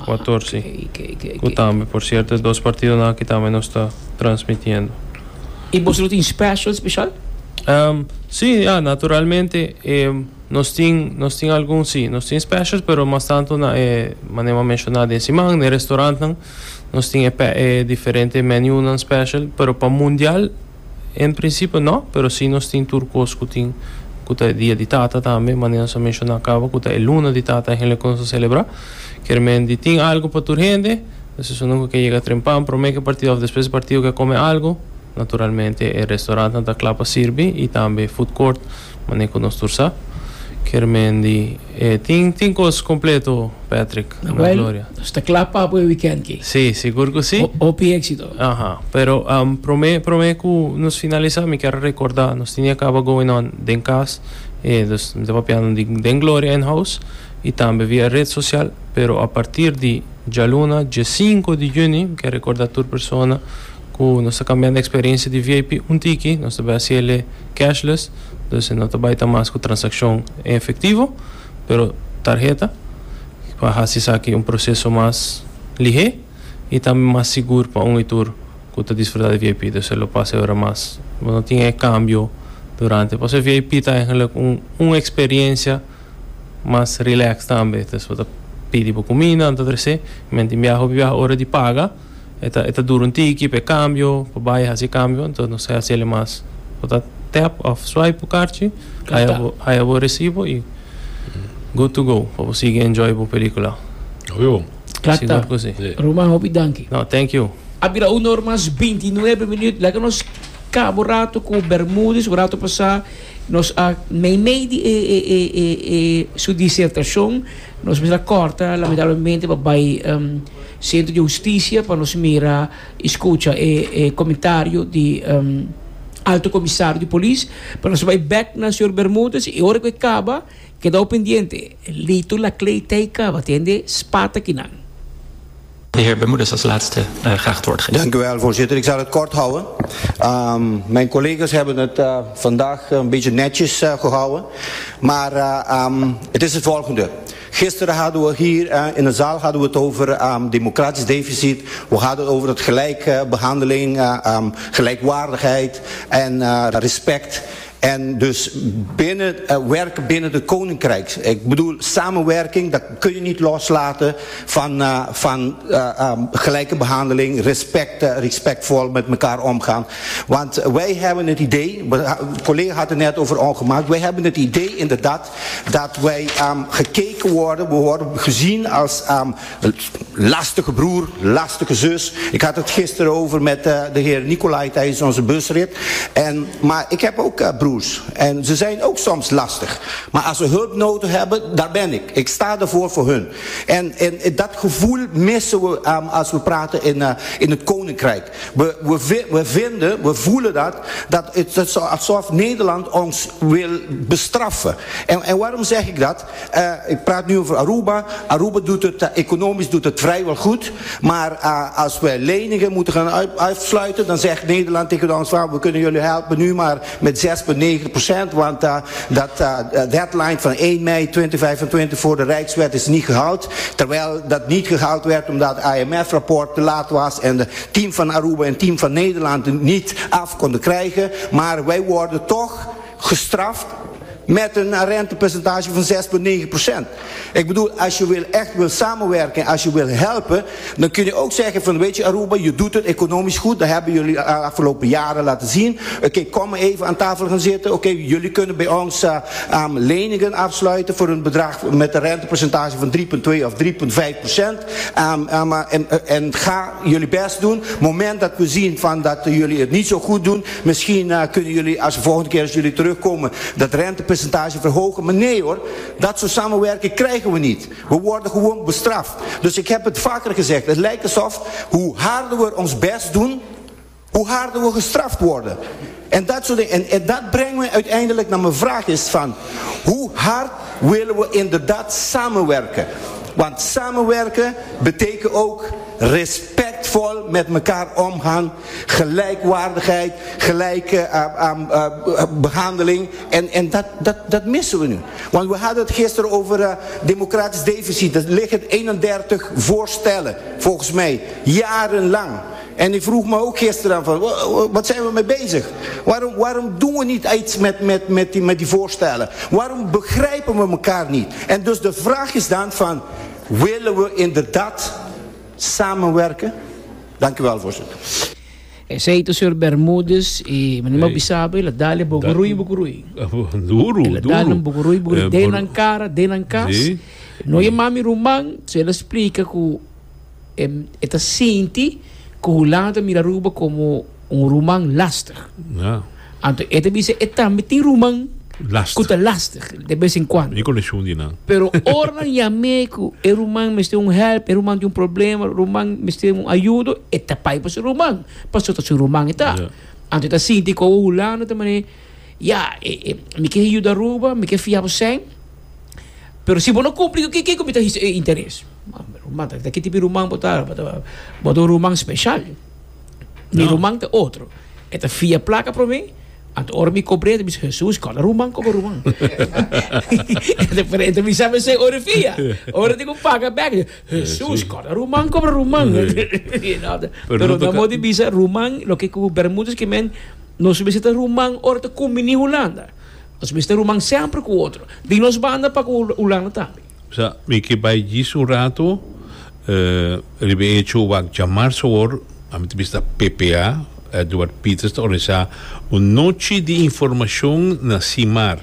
cuater. Ok, ok, ok. Cu tambe, por cierto, dos partidonan aki tambe nos ta transmitiendo. Y bo tin special, special? Um, si, ja, naturalmente, eh, nos tin, nos tin algun, si, nos tin specials, pero mas tanto na, eh, manera menciona den siman, na restaurant, nos tin eh, eh, diferente menu nan special, pero pa Mundial, en principio no, pero si nos tin tur cos cu tin cu ta dia di tata tambe, manera nos a menciona caba, cu ta e luna di tata eigenlijk cu nos celebra. Kiermen di tin algo pa tur hende, entonces uno cu yega trempan, prome cu partido of despues di partido kier come algo, naturalmente e restaurant ta cla pa sirbi y tambe food court, manera cu nos tur sa. Kiermen di eh, tin tin cos completo, Patrick, na Well, Gloria. ta cla pa e weekend aki. Si, sigur cu si. Hopi exito. Aha, pero um, prome prome cu nos finalisa, mi kier recorda, nos tin caba going on den cas, eh, dus mi ta papiando di den Gloria in house y tambe via red social, pero a partir di dialuna, dia cinco di juni, kier recorda tur persona cu nos ta cambiando e experiencia di V I P un tiki, nos ta bay haci cashless, dus no ta bay ta mas cu transaccion en efectivo, pero tarheta, pa haci aki un proceso mas lihe y tambe mas sigur pa un y tur cu ta disfruta di V I P, dus lo pasa awor mas, no tin cambio durante. Pasobra V I P ta eigenlijk un, un experiencia mas relax tambe, dus bo ta pidi pa cuminda, anto trece, mente biaha biaha ora di paga, e ta e ta dura un tiki pa cambio, pa bay haci cambio, anto nos ta haci mas, bo ta tap of swipe e kaartje, Tá. haya bo recibo y good to go, pa bo sigui enjoy e pelicula. Obvio. Cla Sigur ta. cu si. Ruman, hopi danki. No, thank you. A bira un or mas bintinuebe minuut. Laga nos caba rato cu Bermudez, un rato pasa, nos a mei mei di e, e, e, e, e, su disertacion, nos mester a corta, lamentablemente, pa bay um, Centro di Husticia, pa nos mira, scucha e, e comentario di um, Alto Comisario di Polis, pa nos bay back na señor Bermudez, y ora cu caba, keda pendiente, Lito Laclé ta caba, tende, spata akinan. De heer Bermudez als laatste uh, graag het woord geven. Dank u wel, voorzitter. Ik zal het kort houden. Um, mijn collega's hebben het uh, vandaag een beetje netjes uh, gehouden. Maar uh, um, het is het volgende. Gisteren hadden we hier uh, in de zaal hadden we het over um, democratisch deficit. We hadden het over het gelijke behandeling, uh, um, gelijkwaardigheid en uh, respect. En dus binnen, uh, werken binnen het koninkrijk. Ik bedoel, samenwerking, dat kun je niet loslaten van, uh, van uh, um, gelijke behandeling, respect, uh, respectvol met elkaar omgaan. Want wij hebben het idee, de collega had het net over ongemak, wij hebben het idee inderdaad dat wij um, gekeken worden, we worden gezien als um, lastige broer, lastige zus. Ik had het gisteren over met uh, de heer Nicolai tijdens onze busrit. En, maar ik heb ook uh, broers broers. En ze zijn ook soms lastig. Maar als ze hulp nodig hebben, daar ben ik. Ik sta ervoor voor hun. En, en dat gevoel missen we um, als we praten in, uh, in het Koninkrijk. We, we, we vinden, we voelen dat, dat het is alsof Nederland ons wil bestraffen. En, en waarom zeg ik dat? Uh, ik praat nu over Aruba. Aruba doet het, uh, economisch doet het vrijwel goed. Maar uh, als we leningen moeten gaan uit, uitsluiten, dan zegt Nederland tegen ons van, we kunnen jullie helpen nu maar met zes komma negen procent, want uh, dat uh, deadline van één mei tweeduizend vijfentwintig voor de Rijkswet is niet gehaald. Terwijl dat niet gehaald werd omdat het I M F-rapport te laat was en het team van Aruba en het team van Nederland niet af konden krijgen. Maar wij worden toch gestraft met een rentepercentage van zes komma negen procent. Ik bedoel, als je wil, echt wil samenwerken, als je wil helpen, dan kun je ook zeggen van, weet je Aruba, je doet het economisch goed, dat hebben jullie de afgelopen jaren laten zien. Oké, okay, kom maar even aan tafel gaan zitten. Oké, okay, jullie kunnen bij ons uh, um, leningen afsluiten voor een bedrag met een rentepercentage van drie komma twee of drie komma vijf procent. Um, um, en, en ga jullie best doen. Op het moment dat we zien van dat jullie het niet zo goed doen, misschien uh, kunnen jullie, als de volgende keer als jullie terugkomen, dat rentepercentage verhogen. Maar nee hoor, dat soort samenwerking krijgen we niet. We worden gewoon bestraft. Dus ik heb het vaker gezegd, het lijkt alsof hoe harder we ons best doen, hoe harder we gestraft worden. En dat soort dingen. En, en dat brengt me uiteindelijk naar mijn vraag is van, hoe hard willen we inderdaad samenwerken? Want samenwerken betekent ook respectvol met elkaar omgaan, gelijkwaardigheid, gelijke uh, um, uh, behandeling. En, en dat, dat, dat missen we nu. Want we hadden het gisteren over uh, democratisch deficit. Er liggen eenendertig voorstellen, volgens mij, jarenlang. En ik vroeg me ook gisteren aan van, wat zijn we mee bezig? Waarom, waarom doen we niet iets met, met, met, die, met die voorstellen? Waarom begrijpen we elkaar niet? En dus de vraag is dan van, willen we inderdaad samenwerken? Dank u wel, voorzitter. Esey ta señor Bermudez y manima bisabe la dale bogorui bogorui. Duro, la dale bogorui bogorui. Den cara, den cas. No je mami ruman, se ela explica que eta sinti que Hulanda mira Aruba como un ruman lastig. Ja. Anto eta dice eta meti ruman lastig. Lastig, de vez en cuando. Pero ora yame ku e ruman meste un help, e ruman de un problema, ruman meste un ayudo, eta pai pa su ruman. Paso ta su ruman eta. Ja. Anto eta sinti ko Hulanda tamane, ja, e, e, mi ke ayuda Aruba, mi ke fiabo zijn. Pero si bo no cumpli, que que comita interés? Ruman, ta que tipo ruman botar, botar ruman especial. Ni ruman te otro. Eta fia placa pro mim. Anto ora mi cobrei, mi Jesus, qual ruman como ruman. Diferente, mi sabe se ora fia. Ora digo paga back. Jesus, qual ruman como ruman. Pero na modo bisa ruman, lo que ku Bermudez que men no se visita ruman ora te combini Holanda. Nos visita ruman sempre com outro. Di nos banda pa ku Holanda também. Sa, mi que vai disso um rato, eh, ribe hecho wa chamar soor, a mi vista P P A, Eduard Peters te organizar uma noite de informação na CIMAR.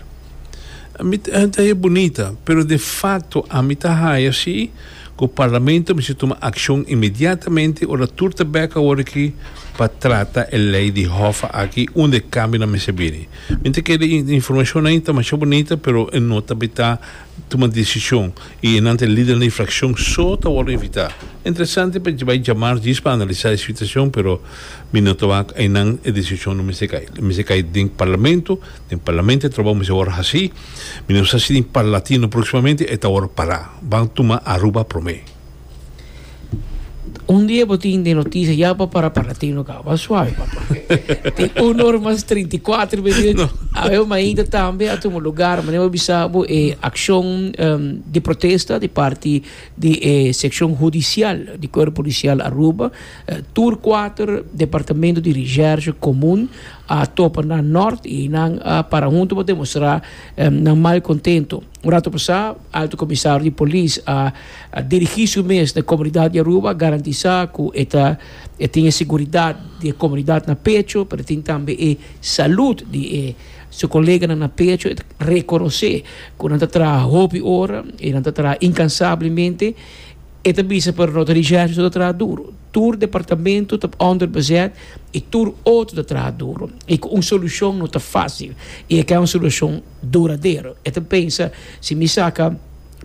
A mim é bonita, pero de facto a mim tá assim, que o parlamento me se toma ação imediatamente ora turta beca ora aqui para tratar a lei de Hoffa aqui onde cambia na mesa bini. Mente que a informação ainda mais bonita, pero não está toma decisão e ante líder da infração só tá ora evitar. Interessante para vai chamar disso para analisar a situação, pero minuto va em não a decisão não me se cai. Me se cai do parlamento, do parlamento trabalhamos agora assim, minuto assim em Parlatino proximamente está ora parar. Vão tomar Aruba promê. Un dia botín de notícia já para Parlatino cá, va suave, papá. Tem uma hora mais trinta e quatro minutos. A eu ainda também a tomar lugar, mas eu bisabo é ação um, de protesta de parte de eh, secção judicial de Corpo Policial Aruba, eh, Tour quatro, Departamento de Recherche Comum, a topa na norte e na para junto para demonstrar um, na mal contento. Um rato passado, alto comissário de polícia a, a dirigir-se mês na comunidade de Aruba, garantizar que esta tem segurança da comunidade na pecho, mas tem também a saúde de eh, seu colega na pecho, reconhecer que não está trabalhando hora e não está trabalhando incansavelmente. E ta bisa, pero no ta recherche ta traha duro. Tur departamento ta onderbezet y tur otro ta traha duro. Y cu un solucion no ta facil. Y e un solucion duradero. E ta pensa, si mi saca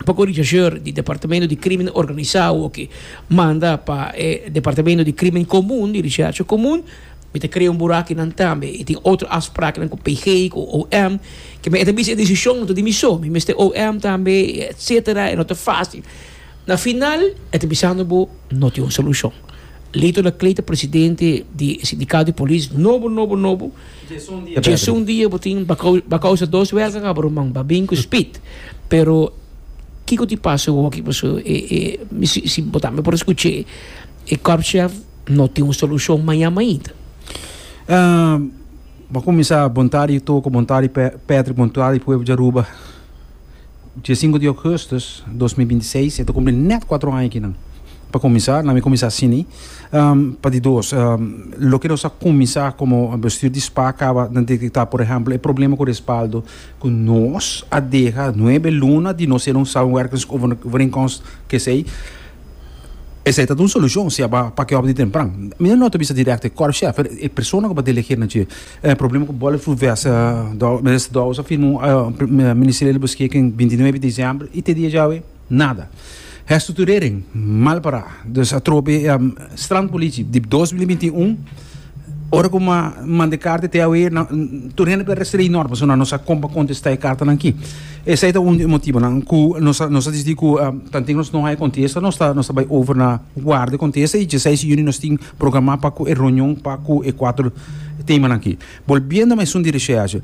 poco rechercheur di departamento di crimen organisa cu manda pa eh, departamento di crimen comun, di recherche comun, mi ta crea un buraco nan tambe. Y tin otro afspraken cu P G, cu O M, cu mi tambe e decision no ta di mi so, mi mester O M tambe, et cetera. E no ta facil. Na final, e ta bisando bo, no tin un solucion. Lito Laclé, presidente di sindicato di polis, nobo, nobo, nobo. Un dia, bo tin a causa dos welga, cabrón, man, ba bin cu speed. Pero kico ta pasa aki, paso, e, e, si, si bo tambe por scucha, e korpschef no tin un solucion mañan ainda. Uh, pa cuminsa, bon tardi, Toco, bon tardi, Patrick, bon tardi, pueblo di Aruba. Dia sinku di augustus di dos mil binti seis, mi ta cumpli net cuater aña aki, no? Pa cuminsa, na mi cuminsa asina, um, pa di dos, um, loke nos a cuminsa como bestuur di SPA caba di detecta, por ehempel, e problema cu respaldo, cu nos a deha nuebe luna di no ser un samenwerkingsovereenkomst cu esey, esey ta un solucion, si pa pa cu op di tempran. Mi no ta bisa direct korpschef, e persona cu ta delegeer na dje. E problema cu bulletproof vest, minister Dowers a firma un ministeriële beschikking bintinuebe di december y te dia djawe nada. Herstructurering, mal para. Dus atrobe um, strandpolitie di dos mil binti un, ora cu m'a manda carta te awe na tur hende per restri norma, so nos a compa contesta e carta aki. Esey ta un motibo nan cu nos nos a dicidi cu tanto nos no hay contesta, nos ta nos ta bay over na warda contesta y diesseis di juni nos tin programa pa e reunion pa e cuater tema aki. Volviendo mas un di recherche.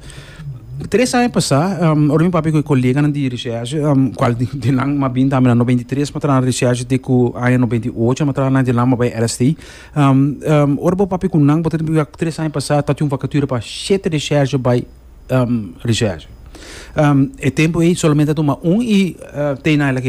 Tres aña pasa, um, ora mi papia cu colega di recherche, um, cual di, di lang m'a bin tambe na nobenta i tres, m'a traha na recherche te cu aña nobenta i ocho, m'a traha na di lang bij R S T. Um, um, ora bo papia cu nan, bo tres aña pasa, tabatin un vacature pa shete recherche bij um, recherche. Um, e tempo ey solamente tuma un y uh, te na ela.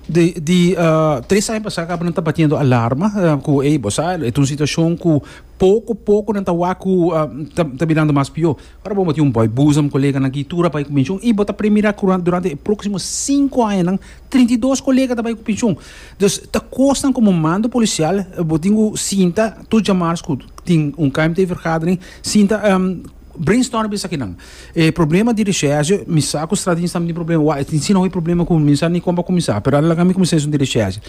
Di, di uh, tres aña pasa caba nan ta batiendo alarma uh, cu ey bo sa e un situacion cu poco poco nan ta wak cu uh, ta, ta birando mas pio. Ora bo tin un boy boezem colega na tur a bay cu pensioen y bo ta premira durante e proximo cinco aña nan trinta i dos colega ta bay cu pensioen. Dus ta cosnan como mando policial bo tin sinta tur diamars cu tin un K M T vergadering, sinta um, brainstorm bisa aki nan. E problema di recherche, mi sa cu strategie tambe problema, wa, tin si no problema cu mi sa ni con cuminsa, pero laga mi cuminsa di recherche.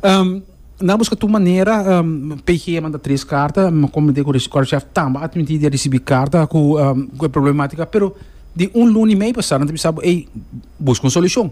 Um, na busca tur manera, um, P G a manda tres carta, como di cu chef tambe a admiti di ricibi carta cu um, cu problematica, pero di un luna y mey pasa, nan sabi, ey, busca un solucion.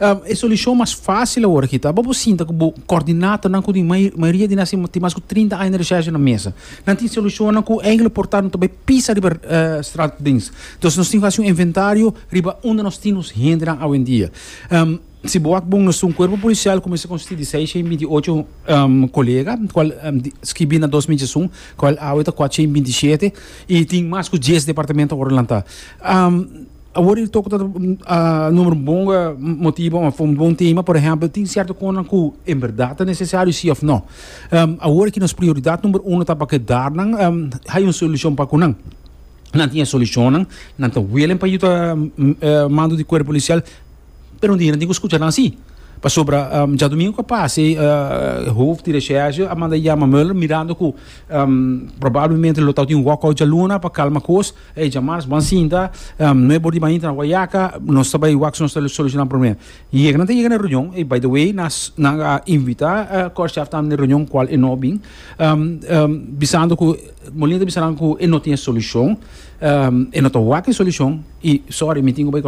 Um, e solucion mas facil awor aki, ta? Bo sinta cu coordinata nan cu mayoria di nan tin mas cu trinta aña di recherche na mesa. Nan tin solucion nan cu eigenlijk por ta tambe pisa riba uh, straatdienst. Dus nos tin cu haci un inventario riba unda nos tin hende awendia. Um, si bo wak bon, nos un cuerpo policial cuminsa consisti di seisshen binti ocho um, colega, cual um, scirbi na dos mil diesun, cual awe ta cuatershen binti shete y tin mas cu dies departamento awor lanta. Um, Awor el toca uh, number bon motibo, un bon tema, por ehempel, tin cierto cos cu en berdad ta necesario, si of no. Um, awor cu nos prioridad number un ta pa keda nan, um, hay un solucion pa cu nan. Nan tin solucion, nan ta willing pa yuda uh, mando di cuerpo policial, pero un dia nan tin cu scucha nan si. Pasobra um, diadomingo cu pasa, uh, hoofd di recherche a manda yama Muller mirando cu um, probablemente lo tin un walkout dialuna pa calma cos e diamars ban sinta um, nuebe or di mainta na Wayaca, nos ta bay wak nos soluciona problema. Y yega yega na reunion y, by the way, nas na invita uh, korpschef tambe na reunion, cual e no bin, um, um, bisando cu Molina bisando cu e no tin solucion, um, e no ta wak solucion y sorry, mi tin cu bay.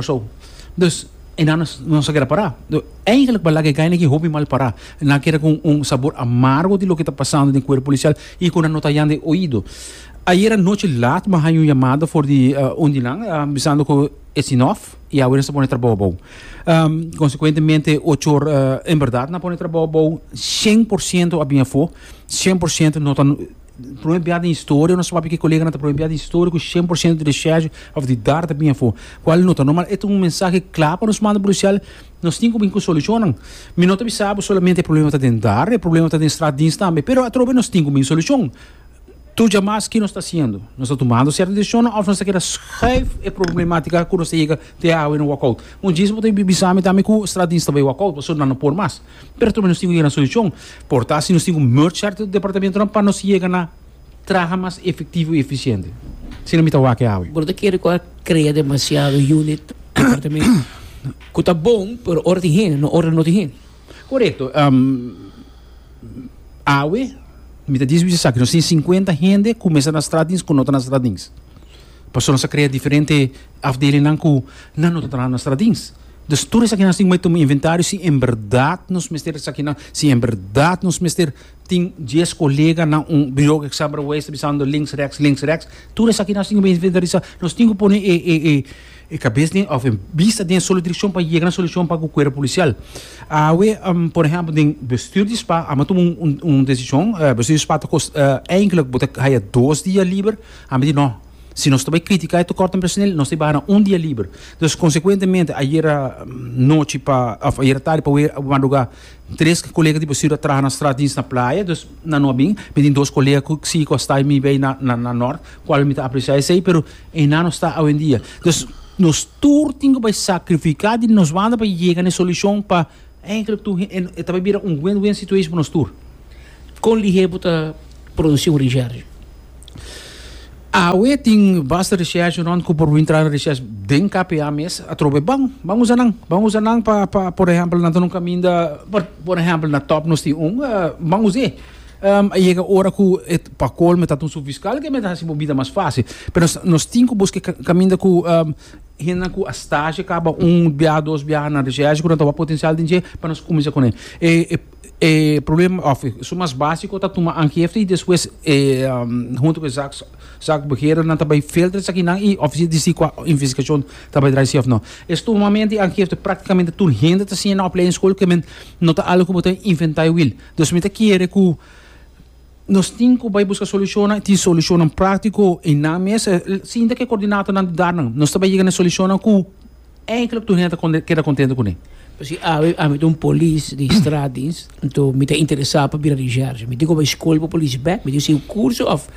Dus en dan nos a keda para. Eigenlijk belangrijk eigenlijk hopi mal para. En dan keda cu un sabor amargo di loke ta pasando den cuerpo policial y cu no ta hayando oido. Ayera nochi laat m'a haya un yamada for di uh, un di nan, uh, bisando cu it's enough y awor nan ta pone trabou abou. Um, consecuentemente, ocho or, uh, en berdad, nan a pone trabou abou, cien por ciento a bin afo, cien por ciento no ta prome biaha den historia, nos sabi cu colega ta prome biaha den historia cu cien por ciento di recherche of di D A R ta bin afo. Cual no ta normal, e un mensahe cla pa nos mando policial, nos tin cu bin cu solucion. Mi no ta sabi solamente e problema ta den D A R, e problema ta den straatdienst tambe, pero atrobe nos tin cu bin solucion. Tur mas cu nos ta haciendo? Nos ta tumando cierto decision of nos ta kier schuif e problematica cu nos yega te awe no walkout. Un dia bo tin bisa mi tambe cu straatdienst tambe walkout, pasobra no por mas. Pero tambe nos tin un solucion. Por ta si nos tin un merge cierto departamento pa nos yega na traha mas efectivo y eficiente. Si no mi ta wak awe. Bo ta kere cu crea demasiado unit, departamento. Cu ta bon, pero ora tin hende, no ora no tin hende. Correcto. Um, awe, mi ta bisa cu nos tin cincuenta hende cuminsa na straatdienst cu no ta na straatdienst. Pasobra nos a crea diferente afdelingen cu nan no ta na straatdienst. Dus tur esaki nos tin cu un inventario si en berdad nos mester esaki nan, si en berdad nos mester tin dies colega na un bureau examenbewijs bisando links rechts, links rechts. Tur esaki nos tin cu inventarisa. Nos tin cu pone e e e e cabes of e bista den solo direccion pa yega na solucion pa e cuerpo policial. Awe, um, por ehempel, den bestuur di SPA, a tuma un, un, un decision, uh, bestuur di SPA ta kost, uh, eigenlijk bo ta haya dos dia liber, ami di no. Si nos tambe critica e tekort personeel, nos ta un dia liber. Dus consecuentemente, ayera nochi pa, of ayera tardi pa madruga, tres colega di bestuur traha na straatdienst na Playa, dus nan no a bin, mi tin dos colega cu si cu ta mi bay na na na Noord, cual mi ta aprecia esey, pero nan no ta awendia. Dus nos tur tin cu sacrifica di nos banda pa yega na solucion pa eigenlijk tur e tambe bira un win-win situation pa nos tur. Con lihe bo ta produci un recherche? Awe tin basta recherche rond cu por entrar na recherche den K P A mes atrobe ban ban usa nan ban usa nan pa pa por ehempel, na un caminda, por, por ehempel, na Top nos tin un uh, ban usa um, yega ora cu het pa colmo ta un fiscal cu mi ta haci bida mas facil, pero nos, nos tin cu busca caminda cu um, hende cu a stage caba un bia, dos bia na recherche cu ta potencial den pa nos cuminsa cu ne e, e e problema of e mas basico ta tuma aangifte y despues eh, um, hunto cu zaak zaakbeheerder nan tambe filter esaki nan y of si di investigacion tambe draai si of no. Sumamente aangifte practicamente tur hende ta siña na opleidingsschool cu men no ta algo cu bo ta inventa wiel. Dus mi ta kere cu nos tin cu bay busca solucion, tin solucion practico y na mesa, sinta cu coordinator nan daar nan. Nos tambe yega na solucion cu eigenlijk tur hende keda contento cu ne. Si ami ami un polis di straatdienst, anto mi ta interesa pa bira recherche. Mi tin cu bay scol pa polis bek, mi tin un curso of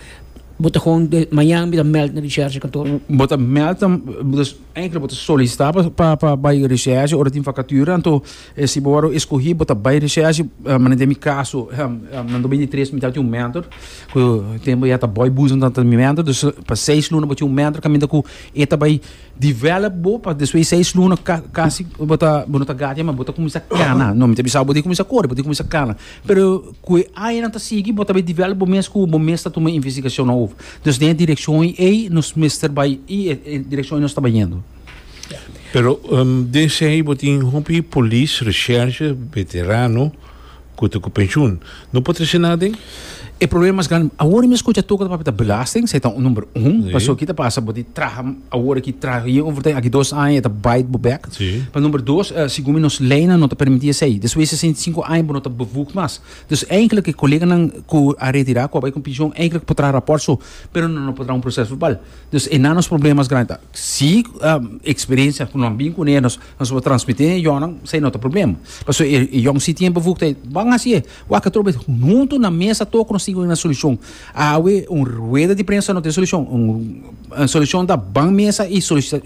bo ta gewoon de mañan mi ta meld na recherche kantoor? Bo ta meld, dus eigenlijk bo ta solicita pa pa bij recherche ora tin vacature, anto eh, si bo escoge, bo ta bij recherche, uh, maar in mi caso, um, um, na dos mil y tres mi tabatin un mentor, cu tempo ya ta Boy Boezem ta mi mentor, dus pa seis luna bo tin un mentor caminda cu e ta bay develop bo pa despues seis luna casi bo ta bo ta gatia, mas bo ta cuminsa cana. No, mi ta bisa bo ta cuminsa core, bo ta cuminsa cana. Pero cu ey nan ta sigui, bo ta bay develop bo mes cu bo mes ta tuma investigacion over. Dus den direccion ey nos mester bay y direccion nos ta bayendo. Pero um, desde bo tin hopi polis, recherche, veterano, cu ta cu pensioen. No por trece nada? E problema mas grandi, awor mi scucha toca pa belasting, esey ta number un, paso kico ta pasa, bo traha awor aki traha hier over aki dos aña ta bite bo back. Si. Pa number dos, uh, segun nos leynan no ta permiti esey. Despues di sesenta y cinco aña no ta bevoegd mas. Dus eigenlijk e coleganan cu a retira, cu a bay cu pensioen, eigenlijk por traha rapport so, pero no por traha un proces verbal. Dus e nos problema mas grandi. Si um, experiencia cu nan bin cu nos nos por transmiti, jong, esey no ta problema. Paso e jong si tin bevoegdheid, ban asina, wak trobe hunto na mesa toco nos tin un solucion. Awe un rueda di prensa no tin solucion. Un, un solucion ta ban mesa y solucion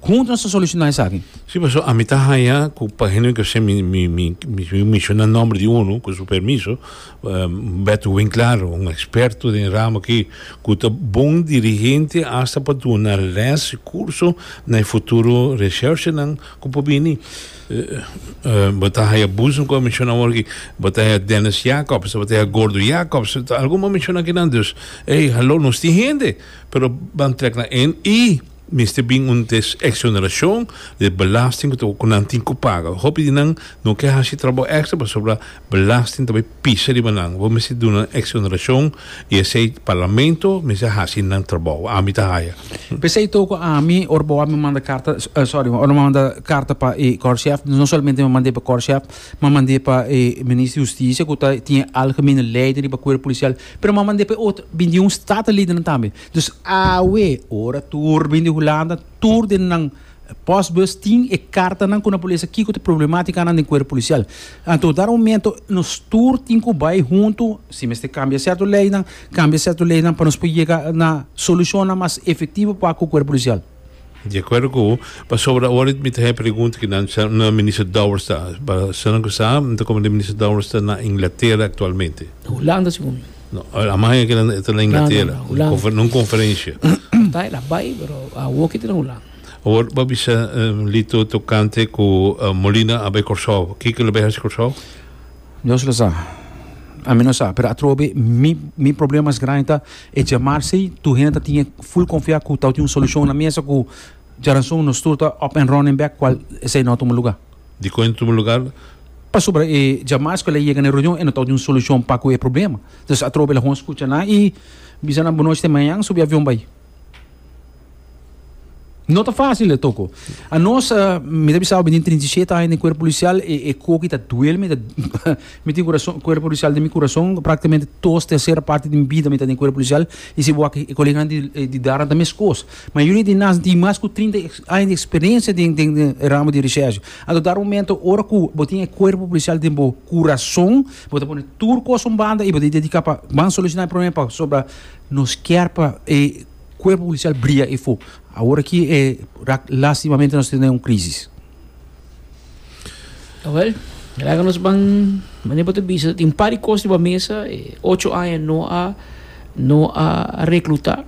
hunto nos soluciona esaki. Si, mas ami ta haya, cu pa hende cu mi mi mi mi menciona nomber di uno, cu su permiso, um, Beto Winklaar, un experto den ramo cu cu ta bon dirigente hasta pa duna les curso na futuro recherche nan cu por bini. Uh, bo ta haya Boezem cu a menciona aki, bo ta haya Dennis Jacobs, bo ta haya Gordo Jacobs, algun a menciona aki nan, dus, hey, hallo, nos tin hende, pero ban trek na en y mester bin un des exoneracion di belasting cu nan tin cu paga. Hopi di nan no kier haci trabou extra pasobra belasting tambe pisa riba nan. Bo mester duna exoneracion y esey parlamento mester haci nan trabou. Ami ta haya. P'esey toco ami ora bo mi manda carta, uh, sorry, ora manda carta pa e korpschef, no solamente mi manda pa korpschef, ma manda pa e minister di Husticia cu ta tin algemene leider pa cuerpo policial, pero mi manda pa otro binti un statenleden tambe. Dus awe ora tur bin di Hulanda, tur den nan Postbus tin e carta nan cu na polis aki cu problematica nan den cuerpo policial. Anto, dado momento, nos tur tin cu bay hunto, si mester cambia cierto ley nan, cambia cierto ley nan pa nos por yega na solucion mas efectivo pa e cuerpo policial. Di acuerdo cu, pa sobre awor mi tin pregunta cu nan na minister Dowers ta, pa se no sabe, anto como minister Dowers ta na Inglatera actualmente. Hulanda, segun. No, a mais cu ta na Inglatera, No, no, no, Hulanda. Na un conferencia. Ta, el a bay, pero awor cu ta na Hulanda. Awor, bo a bisa um, Lito tocante cu uh, Molina a bay Corsou. Kico el a bay Corsou? Dios lo sabe. Ami no sabe, pero atrobe mi mi problema mas grandi ta e diamars tur hende tin full confia cu ta tin un solucion na mesa cu diaranson nos tur ta up and running back, cual esey no a tuma lugar. Di con tuma lugar? Pa sobre e diamars cu el a yega na reunion y no tin un solucion pa e problema. Anto atrobe el a scucha na y bisa nan bon nochi, mañan subi avion bay. No ta facil, Toko. Anos, uh, mi debe sabi, trinta y siete aña den cuerpo policial, e, e coki ta duel, mi, mi tin curason, cuerpo policial den mi curason, practicamente tur tercera parti di mi bida mi ta den cuerpo policial, y si bo e colega di, di dar tambe cos. Mayoria di nos tin mas cu trinta aña di experiencia den, den, den ramo di recherche. Anto, dado momento, ora cu bo tin cuerpo policial den bo curason, bo ta pone tur cos un banda y bo ta dedica pa ban soluciona e problema pa sobre nos kier pa e cuerpo policial briya y fu. Awor aki, eh, lastimamente, nos tin un crisis. Wel, laga nos ban, manera bo ta bisa, tin par di cos riba mesa, eh, ocho aña no a no a recluta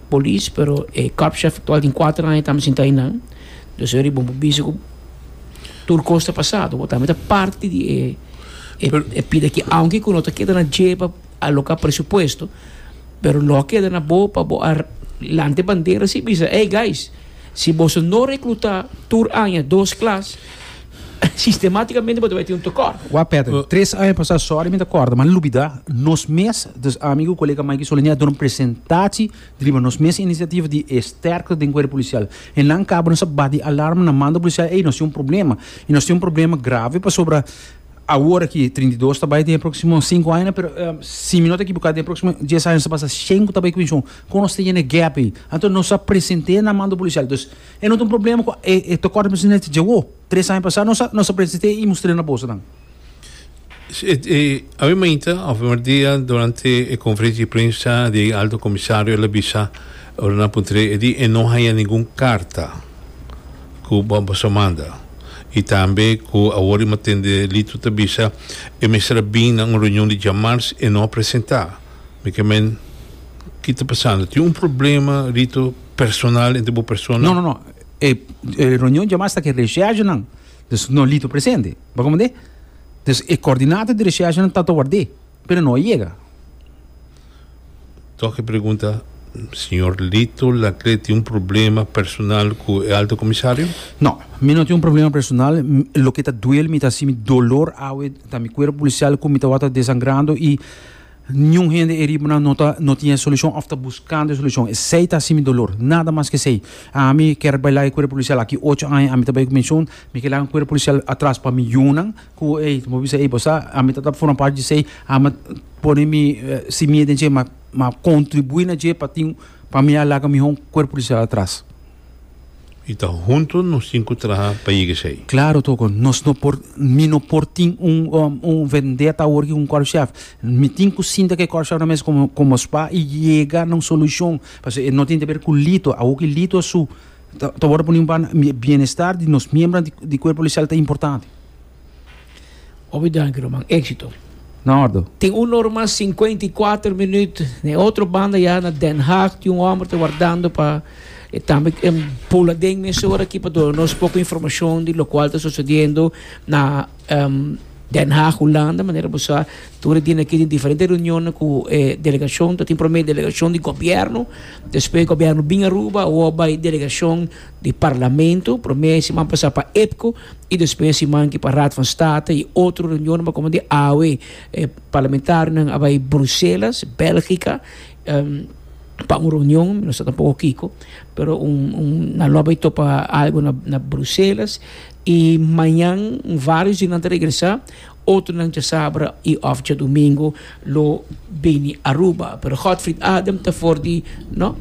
polis, pero eh, korpschef actual tin cuater aña tambe sinta einan. Dus er bon bisa cu tur cos ta pasado, bo tambe ta parti di e e, e pide cu aunke cu no ta keda na dje pa aloca presupuesto, pero lo keda na bo pa bo a lanta bandera si bisa, "Hey guys, si bo no recluta tur aña dos klas, sistematicamente bo bay tin un tekort." Wa Peter, tres aña pasa, sorry, mi ta corda, ma lubida, nos mes, dus amigo, colega Mike Solenia, duna un presentatie, riba nos mes iniciativa di sterkte den cuerpo policial. Y nan caba nos a bati alarma na mando policial, ei, nos tin un problema. Y nos tin un problema grave pa sobre awor aki trinta y dos tambe den proximo cinco aña, pero um, si mi no ta ekivoca, den proximo dies aña pasa shen tambe cu pensioen. Con nos tin gap ey. Anto nos a presenta na mando policial. Dus e no tin un problema cu e e tekort presidente chegou. Tres aña pasa nos nos a presenta y mustra na bolsa dan. Eh, ovviamente, ovviamente durante la conferenza di prensa di alto commissario el a bisa ora nan a puntr'e e di e no haya ningun carta cu bo manda. Y tambe cu awor mi a tende Lito ta bisa e mester a bin na un reunion di diamars e no a presenta. Mi kiermen, kico ta pasando? Tin un problema, Lito, personal entre bo persona? No, no, no. E, e reunion diamars ta cu recherche nan. Dus no Lito presente. Bo comprende? Dus e coordinator di recherche nan ta warda, pero no yega. Toch pregunta, señor Lito Laclé tin un problema personal cu e alto comisario? No, mi no tin un problema personal. Loke ta duel mi, ta asina, mi dolor awe, ta mi cuerpo policial cu mi ta desangrando y ningun hende eriba no ta no tin solucion of ta buscando solucion. Esey ta asina mi dolor, nada mas cu esey. Ami kier bay laga cuerpo policial aki ocho aña, ami tambe menciona, mi kier laga cuerpo policial atras pa mi yiunan, cu ey, bo bisa ey, bo ami ta forma parti di esey, ami pone mi simia den dje, ma ma contribui na dje pa tin pa mi laga mi cuerpo policial atras. Y ta hunto nos tin cu traha pa yega esey. Claro, Toko, nos no por, mi no por tin un, un, un vendetta awor cu un korpschef. Mi tin cu sinta cu e korpschef na mesa como, como spa y yega na un solucion. Pasobra no tin di haber cu Lito, awor cu Lito su, ta awor pone un bienestar di nos miembronan di, di cuerpo policial ta importante. Obrigado, ruman. Exito. Na orde. Tin un ora mas cincuenta y cuater minuut. Na otro banda ya na Den Haag, tin un homber ta wardando pa e tambe um, pula den mesora aki pa duna nos poco informacion di loke ta sucediendo na um, Den Haag, Hulanda, manera bo sa, tur dia aki tin diferente reunion cu eh, delegacion, tin prome delegacion di gobierno, despues gobierno bin Aruba, of bay delegacion di parlamento, prome siman pasa pa IPKO y despues siman aki pa Raad van State y otro reunion, como di A W, eh, parlamentario a bay Bruselas, Belgica, um, pa un reunion, no sa tampoco kico, pero un, un nan lo bay topa algo na, na Bruselas y mañan varios di nan ta regresa, otro nan diasabra y of diadomingo lo bini Aruba. Pero Godfried Adam ta for di, no?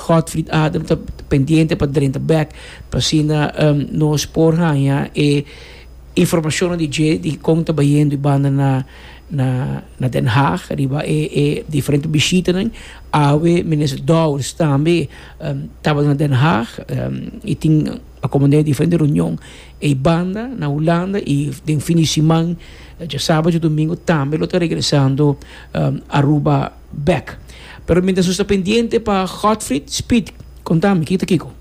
Godfried Adam ta pendiente pa drenta back pa asina um, nos por haya e informacion di dje di con ta bayendo banda na na na Den Haag riba e e diferente bishitanan. Awe minister Dowers tambe um, tabata na Den Haag um, y tin acomodá diferente reunion e banda na Hulanda y den fin di siman, diasabra y diadomingo, tambe lo ta regresando um, Aruba back. Pero mientras nos ta pendiente pa Godfried Speed, conta mi, kico kico.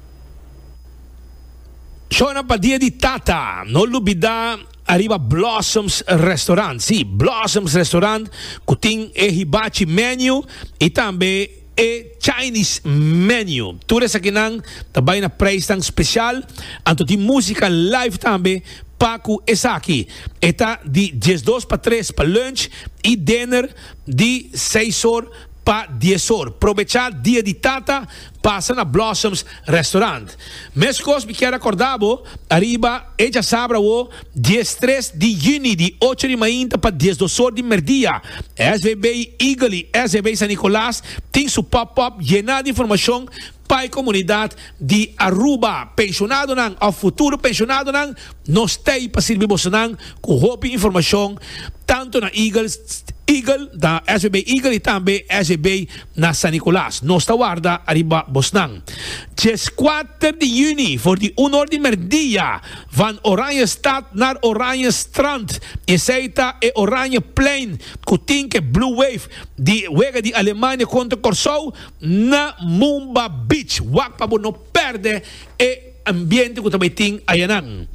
Shona, pa dia di tata, no lubida ariba Blossoms Restaurant. Si, Blossoms Restaurant, cu tin e hibachi menu y tambe e Chinese menu. Tur esakinan tambe na prijs special, anto tin musica live tambe pa cu esaki. E ta di diesdos pa tres pa lunch y dinner di seis or pa dies or. Aprovecha dia di tata, pasa na Blossoms Restaurant. Mescos mi kier recorda bo, ariba, e diasabra o diestres di juni, di ocho di mainta pa diesdos or di merdia. S V B Eagle y S V B San Nicolas tin su pop-up yena di informacion pa e comunidad di Aruba. Pensionadonan, of futuro pensionadonan, nos t'ey pa sirbi bosonan cu hopi informacion tanto na Eagles, Eagle, da S V B Eagle y tambe S V B na San Nicolas. Nos ta warda ariba bosnan. diescuater di juni, for di un or di merdia, van Oranjestad naar Oranje Strand. Esey ta e Oranje Plein, cu tin e Blue Wave, di wega di Alemania contra Corsou, na Mumba Beach. Wak pa no perde e ambiente cu tambe tin ayanan.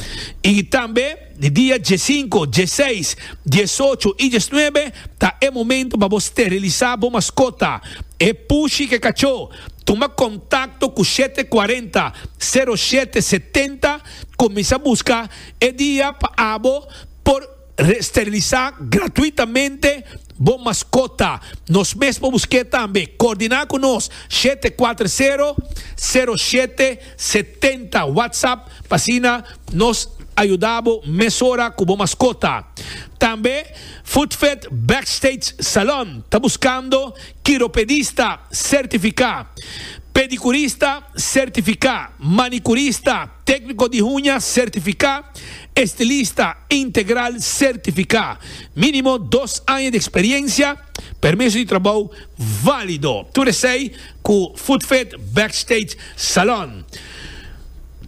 Y tambe, di dia diescinco, diesseis, diesocho y diesnuebe, ta e momento pa bo steriliza bo mascota. E pushi cu cacho. Tuma contacto cu shete cuarenta sero shete setenta, cuminsa busca e dia pa abo por steriliza gratuitamente bo mascota. Nos mes por busca tambe. Coordina cu nos shete cuater sero sero shete setenta, WhatsApp, pa asina nos yuda bo mesora cu bo mascota. Tambe Footfit Backstage Salon ta buscando quiropedista certifica, pedicurista certifica, manicurista, tecnico di uña certifica, estilista integral certifica. Minimo dos aña di experiencia, permiso di trabou valido. Tur esey cu Footfit Backstage Salon.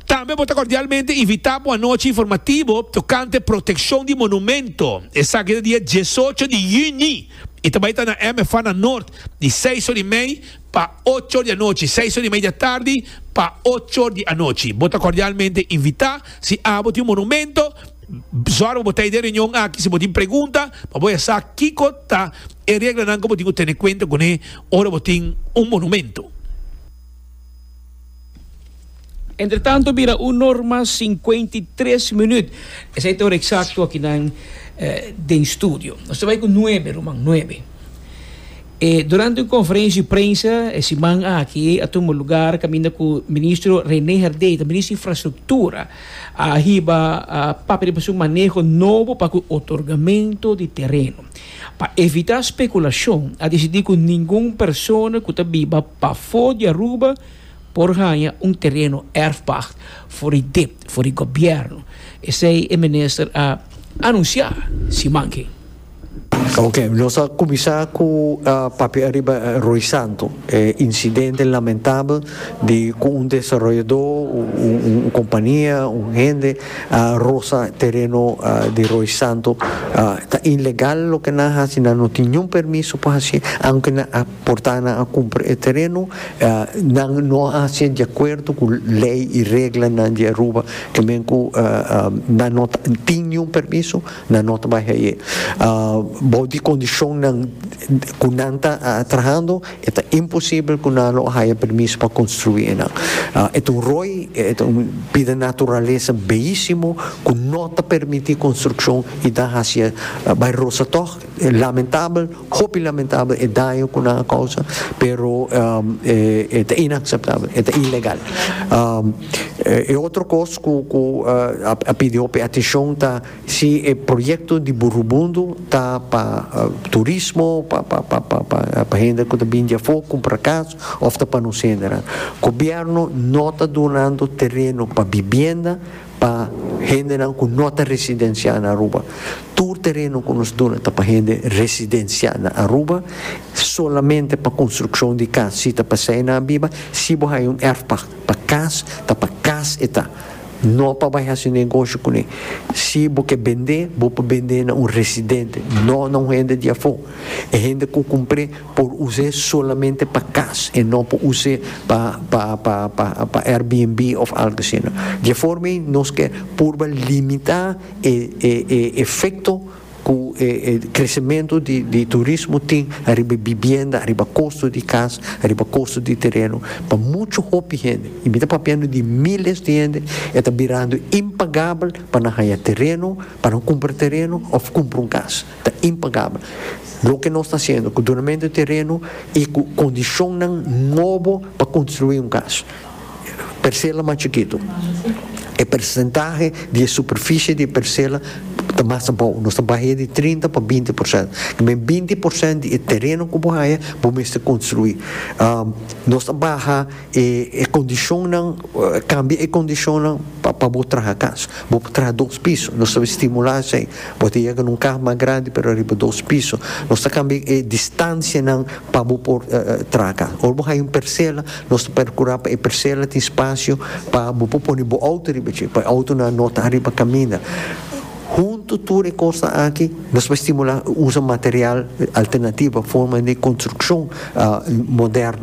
Tambe ta cordialmente invita pa un anochi informativo tocante proteccion di monumento. Esaki ta dia diesocho di juni. Y tambe ta na M F A na Noord, di seis or y mey pa ocho di anochi. seis or y mey di atardi pa ocho di anochi. Bo ta cordialmente invita. Si abo tin un monumento, zorg bo ta den reunion aki, si bo tin pregunta, pa bo sa kico ta e reglanan cu bo tin cu tene cuenta cu ne ora bo tin un monumento. Entre tanto, bira un or cincuenta y tres minuut. Esey ta e ora exacto aki na eh, den studio. Nos ta bay cu nuebe, ruman, nuebe. Eh, durante un conferencia di prensa, e siman aki, a tuma lugar, caminda cu minister René Herdé, minister di Infrastructura, a hiba a papia di un maneho nobo pa otorgamento di tereno. Pa evita speculacion, a dicidi cu ningun persona cu ta biba pafo di Aruba por gana un tereno erfpacht for di D I P, for di gobierno. Esey e minister a anuncia, siman aki. Ok, nos a cuminsa cu uh, papia ariba uh, Roy Santo, eh, incidente lamentabel di cu un desaroyador, un, un compania, un hende, uh, rosa tereno uh, di Roy Santo, uh, ta ilegal loke nan a haci, no tin ningun permiso pa haci, aunke nan a porta nan a cumpra e tereno, uh, nan no a haci di acuerdo cu ley y reglanan di Aruba, kiermen cu uh, uh, nan no tin ningun permiso, nan no ta bay ey. Uh, bou di condicionnan cu nan ta uh, trahando, ta imposibel cu nan lo haya permiso pa construi nan. Uh, e un rooi, e un bida naturalesa beyisimo cu no ta permiti construccion y ta haci uh, bay rosa toch, lamentabel, hopi lamentabel e daño cu nan a causa, pero um, e, ta inaceptabel, ta ilegal. Um, e otro cos cu, cu uh, a, a pidi atencion ta si e proyecto di Burubundo ta pa Pa uh, turismo, pa pa pa pa pa, pa hende cu ta bin di afo cumpra cas of ta pa nos hende. Gobierno no ta dunando tereno pa vivienda pa hende cu no ta residencia na Aruba. Tur tereno cu nos duna ta pa hende residencia na Aruba, solamente pa construccion di cas. Si ta pa na biba, si bo un erfpacht pa cas, ta pa cas e ta. No pa bay haci negoshi cu ne. Si bo kier bende, bo por bende na un residente, no na un hende di afo. E hende cu cumpra por usa solamente pa cas y no pa usa pa pa pa pa pa Airbnb of algo asina. Di forma nos kier por limita e, e, e efecto cu eh, eh, crecemento di, di turismo tin ariba vivienda, ariba costo di cas, ariba costo di tereno. Pa mucho hopi hende, y mi ta papiando di miles di hende, ta birando impagabel pa nan haya tereno, pa nan cumpra tereno of cumpra un cas. Ta impagabel. Loke nos ta haciendo, cu dunamento di tereno y cu condicion nobo pa construi un cas. Percela mas chikito. E porcentahe di superficie di percela ta mas abou. Nos ta bahando di trinta pa binti porciento. Kiermen binti porciento di tereno cu bo haya, bo mester construi. Um, nos ta baha e, e condicion, cambia e condicion pa pa bo traha cas. Bo traha dos piso. Nos ta stimula esey. Bo yega na un cas mas grandi, pero ariba dos piso. Nos ta cambia e distancia nan pa bo por uh, traha cas. Of bo un percela, nos ta percura pa e percela tin espacio pa bo pone bo auto riba, pa auto no ta riba caminda. Hunto tur cos aki, nos ta bay stimula usa material alternativo, forma di construccion uh, moderno.